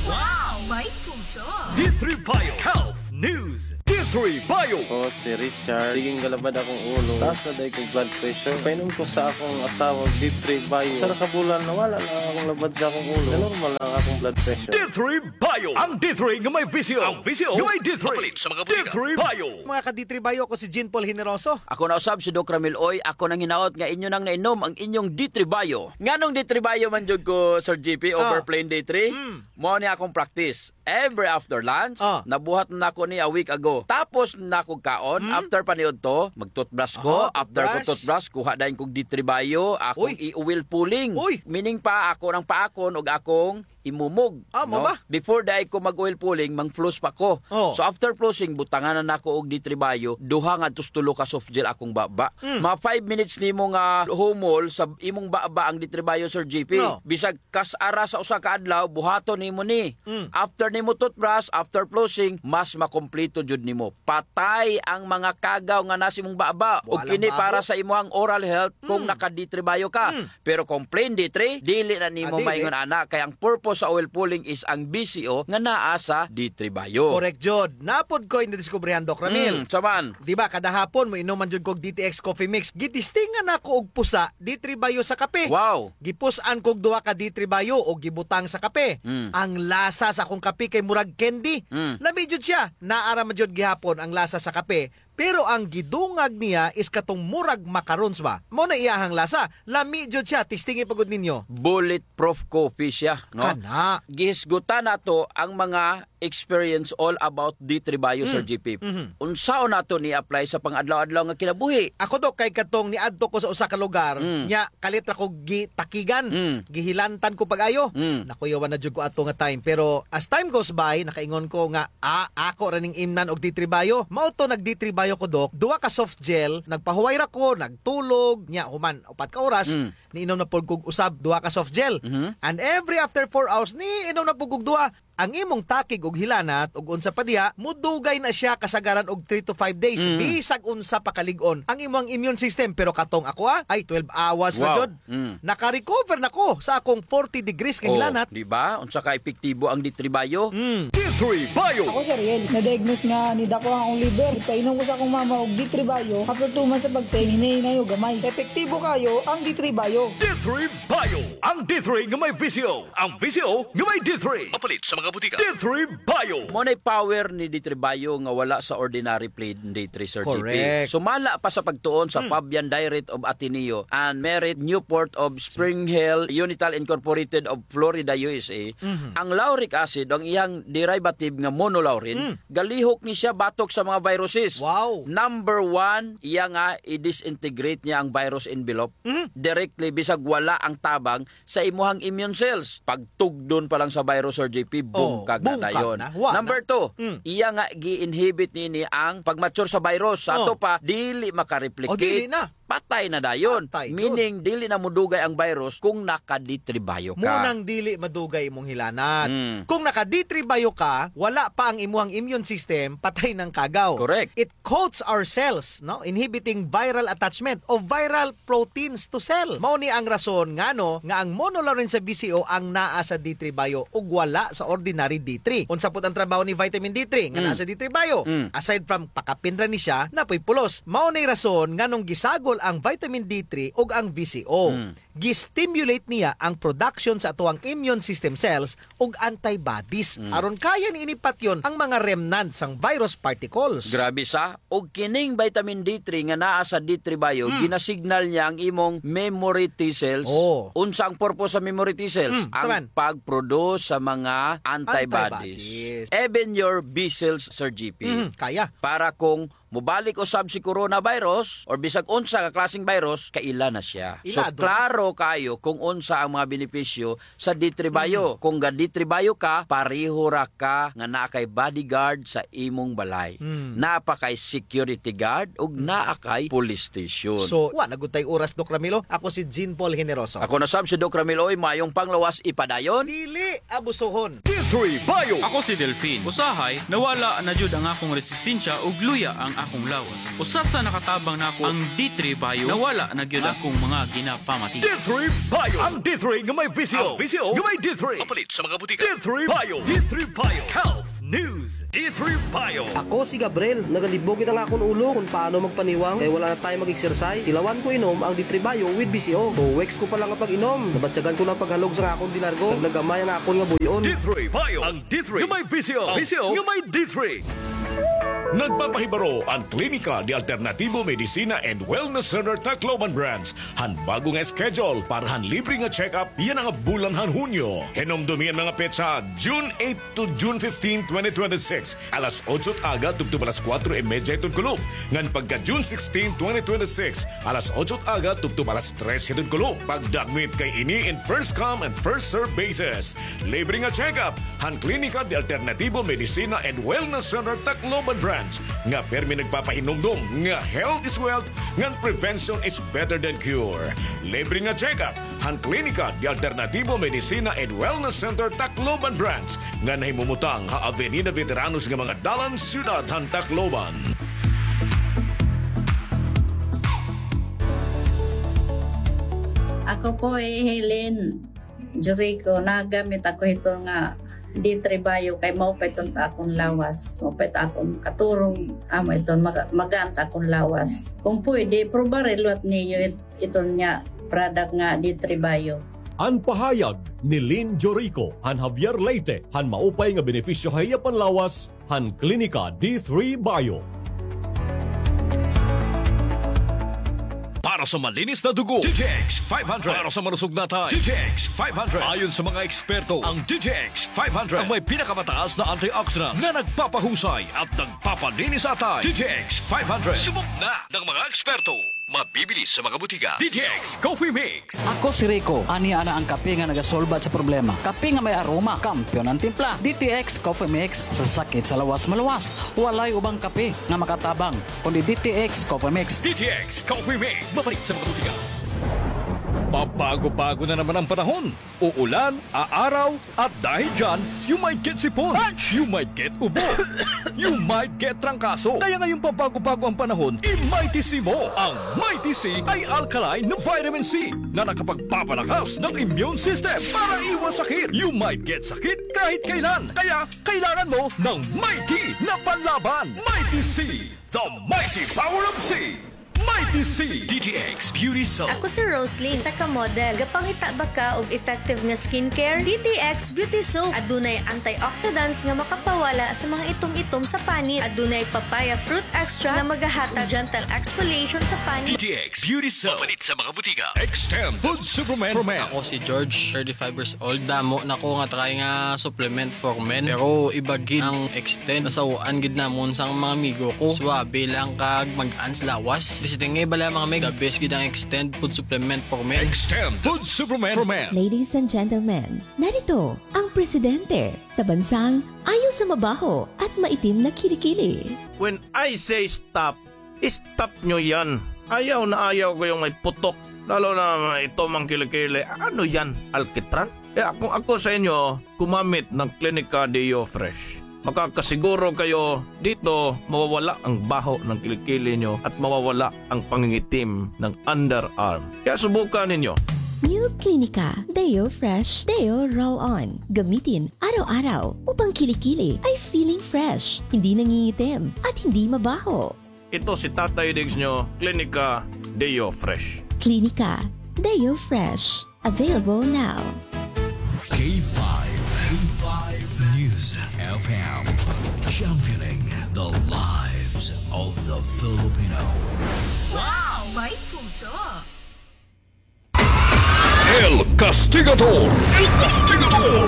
Wow! May puso! D three Bio Health News. D three Bio. Ako si Richard. Sige nga labad akong ulo. Taas na diay kog blood pressure. Painom ko sa akong asawa, D three Bio. Usa ra ka bulan, nawala na akong labad sa akong ulo. Na-normal na ang akong blood pressure. D three Bio. Ang D three nga may visyo. Ang visyo nga may D three. Mapalit sa mga botika. D three Bio. Mga ka-D three Bio, ako si Jean Paul Generoso. Ako na usab si Doc Ramil Uy. Ako nang hinaot nga inyo nang nainom ang inyong D three Bio. Nganong D three Bio man jud ko, Sir G P, over plain D three? Mm. Mao ni akong practice. Every after lunch, ah, nabuhat na nako ni a week ago. Tapos na kog kaon, hmm, after paniudto, mag-toothbrush ko. Aha, after ko toothbrush, kuha dayon kog D three Bio, akong i-oil pulling. Uy! Meaning pa, ako nang paakon og akong imumog, ah, mao ba? Before diay ko mag-oil pulling, mang-floss pa ko. Oh. So after flossing, butangan na nako og D three Bio, duha ngadto sa tulo ka soft gel akong baba. Hmm. Mga five minutes nimo nga humol sa imong baba ang D three Bio, Sir G P. No. Bisag kas ara sa usa ka adlaw, buhaton nimo ni. Mm. After nimo toothbrush, after flossing, mas makompleto jud nimo. Patay ang mga kagaw nga naa sa imong baba. Ug kini para sa imuhang oral health kung naka-D three Bio ka. Mm. Pero kung plain D three, dili na nimo maingon ana, kay ang purpose sa oil pulling is ang B C O nga naa sa D three Bio. Correct jud. Naa pod koy nadiskubrihan, Doc Ramil. Mm, unsa man? Di ba, kada hapon, moinom man jud kog D T X Coffee Mix. Gitistingan nako og pusa, D three Bio sa kape. Wow! Gipus-an kog duha ka D three Bio ug gibutang sa kape. Mm. Ang lasa sa akong kape kay murag candy. Mm. Lami jud siya. Naa ra man jud gihapon ang lasa sa kape. Pero ang gidungag niya is katong murag macarons ba? Mao na iyahang lasa. Lami jud siya. Testingi pa gud ninyo. Bulletproof coffee siya, no? Kana. Gihisgutan nato ang mga experience all about D three Bio, Sir G P. Mm. Unsaon nato ni-apply sa pang-adlaw-adlaw nga kinabuhi? Ako, Doc, kay katong niadto ko sa usa ka lugar, mm, nya kalit ra ko gitakigan, mm, gihilantan ko pag-ayo. Mm. Nakuyawan na jud ko ato nga time. Pero as time goes by, nakaingon ko nga, ah, ako ra ning imnan og D three Bio. Mao to, nag-D three Bio ko, Doc. Duha ka soft gel, nagpahuway ra ko, nagtulog, nya human upat ka oras, mm, niinom na pud kog usab duha ka soft gel. Mhm. And every after four hours, niinom na pud kog duha. Ang imong takig ug hilanat ug unsa pa diha, mudugay na siya kasagaran og three to five days, mm, bisag unsa pa kalig-on ang imong immune system. Pero katong ako, ah, ay twelve hours na jud. Wow. Mm. Naka-recover na ko sa akong forty degrees nga hilanat. Oh, di ba? Unsa ka epektibo ang D three Bio? Mm. D three Bio. Ako si Ariel. Na-diagnose nga nidako ang akong liver. Nagpainom ko sa akong mama og D three Bio. After two months sa pagtake, hinay-hinay og gamay. Epektibo kaayo ang D three Bio. D three Bio. Ang D three nga may visyo. Ang visyo nga may D three. Mapalit sa mga botika. D three Bio. Mao nay power ni D three Bio nga wala sa ordinary plain D three, Sir G P. Correct. Sumala pa sa pagtuon sa, hmm, Fabian Direct of Ateneo and Merit Newport of Spring Hill Unital Incorporated of Florida, U S A, mhm, ang lauric acid, ang iyang derivative nga monolaurin, mm, galihok ni siya batok sa mga viruses. Wow. Number one, iya nga i-disintegrate niya ang virus envelope, mhm, directly, bisag wala ang tabang sa imuhang immune cells. Pagtugdon pa lang sa virus, Sir G P, oh, bungkag na dayon. Bungkag na. Wa na. Number two, mm, iya nga gi-inhibit nini ang pag-mature sa virus. Sa, oh, ato pa, dili makareplicate. Oh, dili na. Patay na dayon. Patay jud. Meaning, dili na mudugay ang virus kung naka-D three Bio ka. Mao nang dili madugay imong hilanat. Mm. Kung naka-D three Bio ka, wala pa ang imuhang immune system, patay nang kagaw. Correct. It coats our cells, no? Inhibiting viral attachment of viral proteins to cell. Mao ni ang rason ngano nga ang monolaurin sa V C O ang naa sa D three Bio ug wala sa ordinary D three. Unsa pud ang trabaho ni vitamin D three nga, mm, naa sa D three Bio? Mm. Aside from pakapin ra ni siya, naa poy pulos. Mao ni rason nganong gisagol ang vitamin D three ug ang V C O. Mm. gi-stimulate niya ang production sa atoang immune system cells ug antibodies. Mm. Aron kaya niini patyon ang mga remnants sang virus particles. Grabe sa, ug kining vitamin D three nga naa sa D three Bio, mm, ginasignal niya ang imong memory T cells. Oh. Unsa ang purpose sa memory T cells? Mm, ang pag-produce sa mga antibodies. Antibodies. Even your B cells, Sir G P. Mm, kaya. Para kung mobalik usab si coronavirus or bisag unsa ka klaseng virus, kaila na siya. So, ila, adto na. Klaro kayo kung unsa ang mga benepisyo sa D three Bio. Mm. Kung ga D three Bio ka, pareho ra ka nga naa kay bodyguard sa imong balay. Mm. Naa pa kay security guard ug, mm, naa kay police station. So, wa na gud tay oras, Doc Ramilo. Ako si Jean Paul Generoso. Ako na sab si Doc Ramil, oy, mayong panglawas ipadayon. Dili abusohon. D three Bio. Ako si Delfin. Usahay, nawala na jud ang akong resistensya ug luya ang akong lawas. Usa sa nakatabang nako ang D three Bio. Nawala na gyud akong mga ginapamati. D three Bio. Ang D three nga may V C O. Ang V C O nga may D three. Mapalit sa mga butika. D three Bio. D three Bio. Health News. D three Bio. Ako si Gabriel. Nagalibog gid ang akon ulo kung paano magpaniwang kay wala na time mag-exercise. Ilawan ko inom ang D three Bio with V C O. Two weeks ko pa lang nga pag-inom, nabatyagan ko na ang paghalog sa akon dinargo. Naglagamay ang akon nga buy-on. D three Bio. Ang D three nga may V C O. V C O nga may D three. Nagpapahibaro an Klinika de Alternativo Medicina and Wellness Center Tacloban Branch han bago nga schedule para han libre nga check-up yana nga bulan han Hunyo. Hinumdomi an mga petsa, June eight to June fifteen, twenty twenty-six, alas otso it aga tubtob alas kuwatro y medya hiton kulop. Ngan pagka June sixteen, twenty twenty-six, alas otso it aga tubtob alas tres hiton kulop. Pagdagmit kay ini in first come and first serve basis. Libre nga check-up han Klinika de Alternativo Medicina and Wellness Center Tacloban Branch nga pirmi nagpapahinumdom nga health is wealth ngan prevention is better than cure. Libre nga check-up han Klinika de Alternativo Medicina and Wellness Center Tacloban Branch nga nahimumutang ha Avenida Veteranos nga mga dalan, siyudad han Tacloban. Ako po hi Helen Jurico, nagamit ako hito nga D three Bio kay maupay iton ta akon lawas. Maupay ta akon katurog, amo iton maga-, magaan ta akon lawas. Kung pwede, probare liwat niyo it-, iton nga product nga D three Bio. An pahayag ni Lynn Jorico han Javier Leyte han maupay nga benepisyo ha iya panlawas han Klinika D three Bio. Para sa malinis na dugo, D T X five hundred. Para sa malusog na atay, D T X five hundred. Ayon sa mga eksperto, ang D T X five hundred ang may pinakamataas na antioxidants na nagpapahusay at nagpapalinis sa atay. D T X five hundred. Subok na ng mga eksperto. Mabibili sa mga butika. D T X Coffee Mix. Ako si Rico. Ania na an kape nga nagasolbat sa problema. Kape nga may aroma, kampiyon an timpla. D T X Coffee Mix, sa sakit sa lawas maluwas. Walay ubang kape nga makatabang kundi D T X Coffee Mix. D T X Coffee Mix. Mabalik sa mga butika. Pabago-bago na naman ang panahon. Uulan, aaraw, at dahil dyan, you might get sipon, you might get ubo, you might get trangkaso. Kaya ngayong pabago-bago ang panahon, i-Mighty C mo. Ang Mighty C ay alkaline na vitamin C na nakapagpapalakas ng immune system para iwas sakit. You might get sakit kahit kailan. Kaya kailangan mo ng Mighty na panlaban. Mighty C, the mighty power of C. Mighty C. D T X Beauty Soap. Ako si Roslyn, isa ka model. Gapangita ba ka og effective nga skincare? D T X Beauty Soap. Adunay antioxidants nga makapawala sa mga itom-itom sa panit. Adunay papaya fruit extract nga magahatag gentle exfoliation sa panit. D T X Beauty Soap. Mapalit sa mga butika. Extend Food Supplement for Men. Ako si George, thirty-five years old. Damo na ko nga try nga supplement for men. Pero iba gid ang Extend. Nasaw-an gid namon sang mga amigo ko. Suwabe lang kag mag-an sa lawas. Bisita nga bala mga meg, the best gid ang Extend Food Supplement for Men. Extend Food Supplement for Men. Ladies and gentlemen, narito ang presidente sa bansang ayaw sa mabaho at maitim na kilikili. When I say stop, stop nyo yan. Ayaw na ayaw ko yung may putok. Lalo na may itom ang kilikili. Ano yan? Alkitran? Kaya kung ako sa inyo, gumamit ng Clinica Deo Fresh. Makakasiguro kayo dito mawawala ang baho ng kilikili nyo at mawawala ang pangingitim ng underarm. Kaya subukan ninyo. New Clinica Deo Fresh Deo Roll-On. Gamitin araw-araw upang kilikili ay feeling fresh, hindi nangingitim, at hindi mabaho. Ito si Tatay Diggs nyo, Clinica Deo Fresh. Clinica Deo Fresh. Available now. K five, K five News F M, championing the lives of the Filipino. Wow! May puso! El Castigador! El Castigador!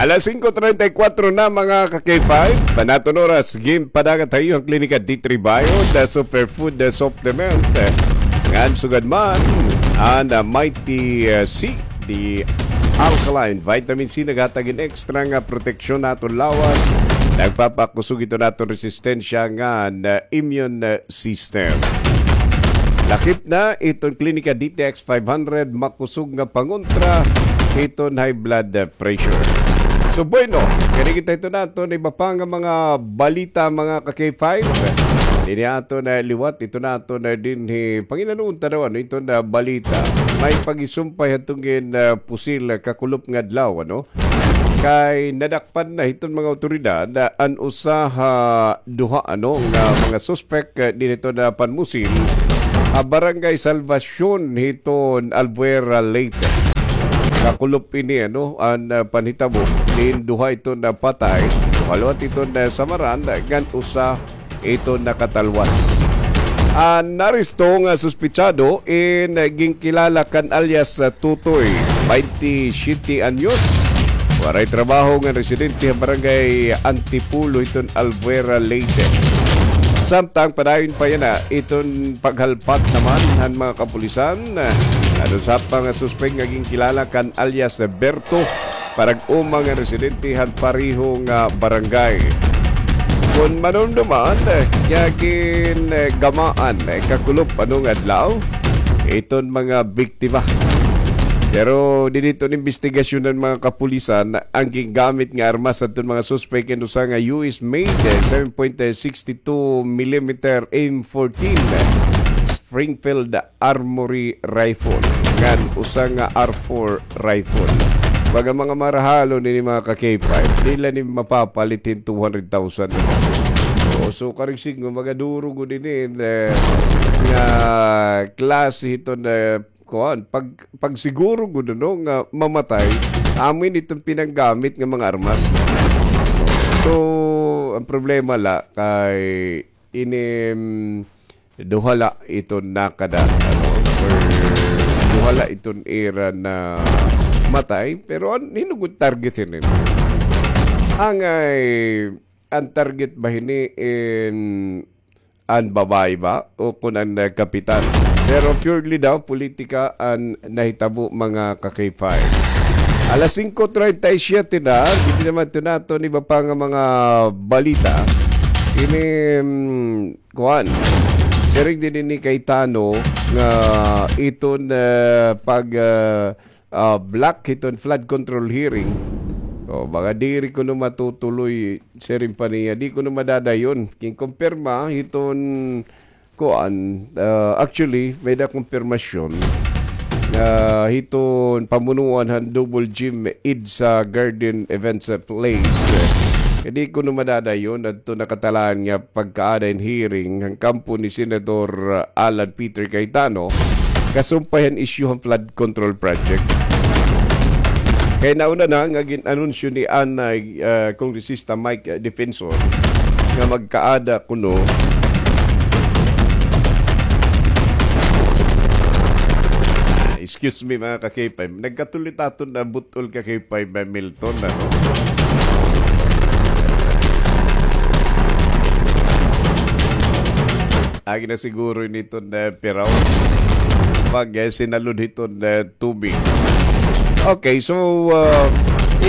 Alas singko treinta y kuwatro na, mga ka-K five. Panaton oras, ginpadagat ha iyo an Klinika D three Bio, the superfood, the supplement. Ngan sugad man, an, ah, Mighty, ah, C, the alkaline vitamin C, naghatag hin extra nga proteksyon ha aton lawas. Nagpapakusog ito ha aton resistensya ngan, ah, immune, ah, system. Lakip na iton Klinika D T X five hundred, makusog nga pangontra hiton high blood pressure. So, bueno, kani kita ito naton iba pa nga mga balita, mga ka-K five. Dinhi aton liwat ito naton dinhi, panginanuon ta daw, ano, iton balita. May pagisumpay hadton gin, ah, pusil, ah, kakulop nga adlaw, ano? Kay nadakpan na hiton mga awtoridad, ah, an usa ha duha, ano, nga mga suspek, ah, dinhi hiton panmusil ha Barangay Salvacion hiton Albuera, Leyte. Kakulop ini, ano, an, ah, panhitabo, diin duha iton napatay, duha liwat iton nasamaran, ngan usa iton nakatalwas. An naaresto nga suspetsado in ginkilala kan alias Tutoy, baynte siyete anyos. Waray trabaho ngan residente ha Barangay Antipolo iton Albuera, Leyte. Samtang padayon pa yana iton paghalpat naman han mga kapulisan, an usa pa nga suspek nga ginkilala kan alias Berto, parag-uma nga residente han pareho nga barangay. Kon manumduman, eh, nga gin, eh, gamaan, eh, kakulop, ano, nga adlaw, iton mga biktima. Pero dinhi iton imbestigasyon han mga kapulisan, an gingamit nga armas hadton mga suspek in usa nga U S made, eh, seven point six two millimeter M fourteen, eh, Springfield Armory rifle, ngan usa nga R four rifle. Baga mga marahalon ini, mga ka-K five, diri la ini mapapalit hin two hundred thousand. O, so, karig sidngon, baga duro gud ini, eh, nga klase hiton, eh, kuan, pag, pagsiguro gud, no, nga mamatay, amo ini iton pinanggamit nga mga armas. So, an problema la kay ini, mm, duha la iton nakada, ano, or duha la iton ira namatay, pero an, hin-o gud target hini? Angay, an target ba hini in an babaye ba o kon an, eh, kapitan? Pero purely daw politika an nahitabo, mga ka-K five. Alas singko treinta y siete na, dinhi naman ito naton iba pa nga mga balita. Ini, mm, kuan. Siring dinhi ni Cayetano nga iton, eh, pag, eh, ah, block hiton flood control hearing. O, baga diri kuno matutuloy, siring pa niya, di kuno madadayon. Ginkumpirma hiton kuan, ah, actually, may-ada kumpirmasyon, ah, hiton pamunuan han Double Gym EDSA Garden Events Place. Kay di kuno madadayon adto nakatalaan nga pagkaada hin hearing han kampo ni Senador Alan Peter Cayetano, kasumpay han issue han flood control project. Kay nauna na nga gin-anunsyo ni anay, ah, Kongresista Mike, ah, Defensor nga magkaada kuno. Excuse me, mga ka-K five. Nagkatuloy it aton nga but- ol ka kay Pay Milton, ano? Agi na siguro ini iton, eh, piraw. Pag, eh, sinalod hiton, eh, tubig. Okay, so, ah,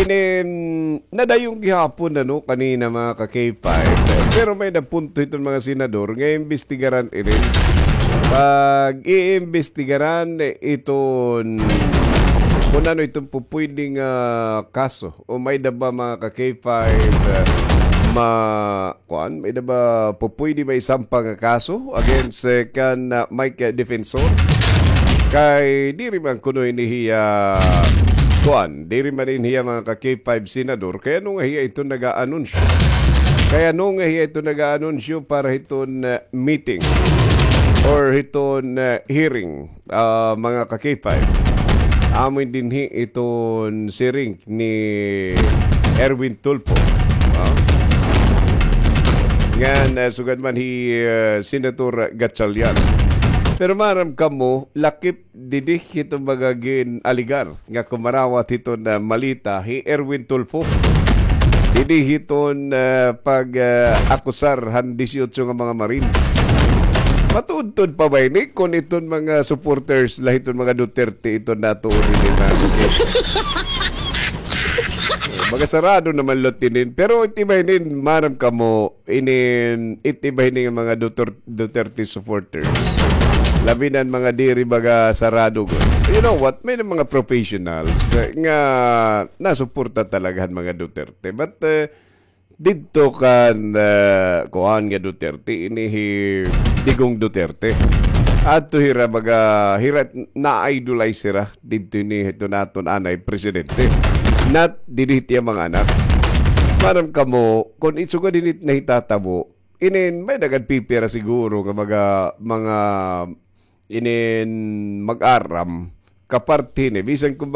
ini, mm, nadayon gihapon, ano, kanina, mga ka-K five. Pero may-ada punto hiton mga senador nga imbestigaran ini. Pag-iimbestigaran iton kun ano iton pupwede nga kaso o may-ada ba, mga ka-K five, eh, ma-, kuan, may-ada ba pupwede maisampa nga kaso against, eh, kan, ah, Mike, eh, Defensor? Kay diri man kuno ini hiya, kuan, diri man ini hiya, mga ka-K five, senador. Kay ano nga hiya iton nag-aanunsyo? Kay ano nga hiya iton nag-aanunsyo para hiton, eh, meeting? or hiton, ah, hearing, ah, mga ka-K five. Amo ini dinhi iton siring ni Erwin Tulfo. Ah? Ngan, ah, sugad man hi, ah, Senator Gatchalian. Pero maaram kamo, lakip didi hiton mga gin-alegar nga kumarawat hiton, ah, maleta hi Erwin Tulfo. Didi hiton, ah, pag, ah, akusar han disiotso nga mga Marines. Matuod-tuod pa ba ini kon iton mga supporters la hiton mga Duterte iton natuod ini na? Mga sarado naman lot inin. Pero iti ba inin, maaram kamo, inin, iti ba ini nga mga Duter-, Duterte supporters? Labi na an mga diri baga sarado gud. You know what? May na mga professionals, eh, nga nasuporta talaga han mga Duterte. But, eh, didto kan, eh, kuan nga Duterte, ini hi Digong Duterte. Adto hira baga, hira na-idolize hira didto ini hiton aton anay presidente. Not didi hit iya mga anak. Maaram kamo, kon sugad ini it nahitatabo, inin may nagagpipira siguro nga mga, mga inin mag-aram, kaparte hini. Bisan kumbaga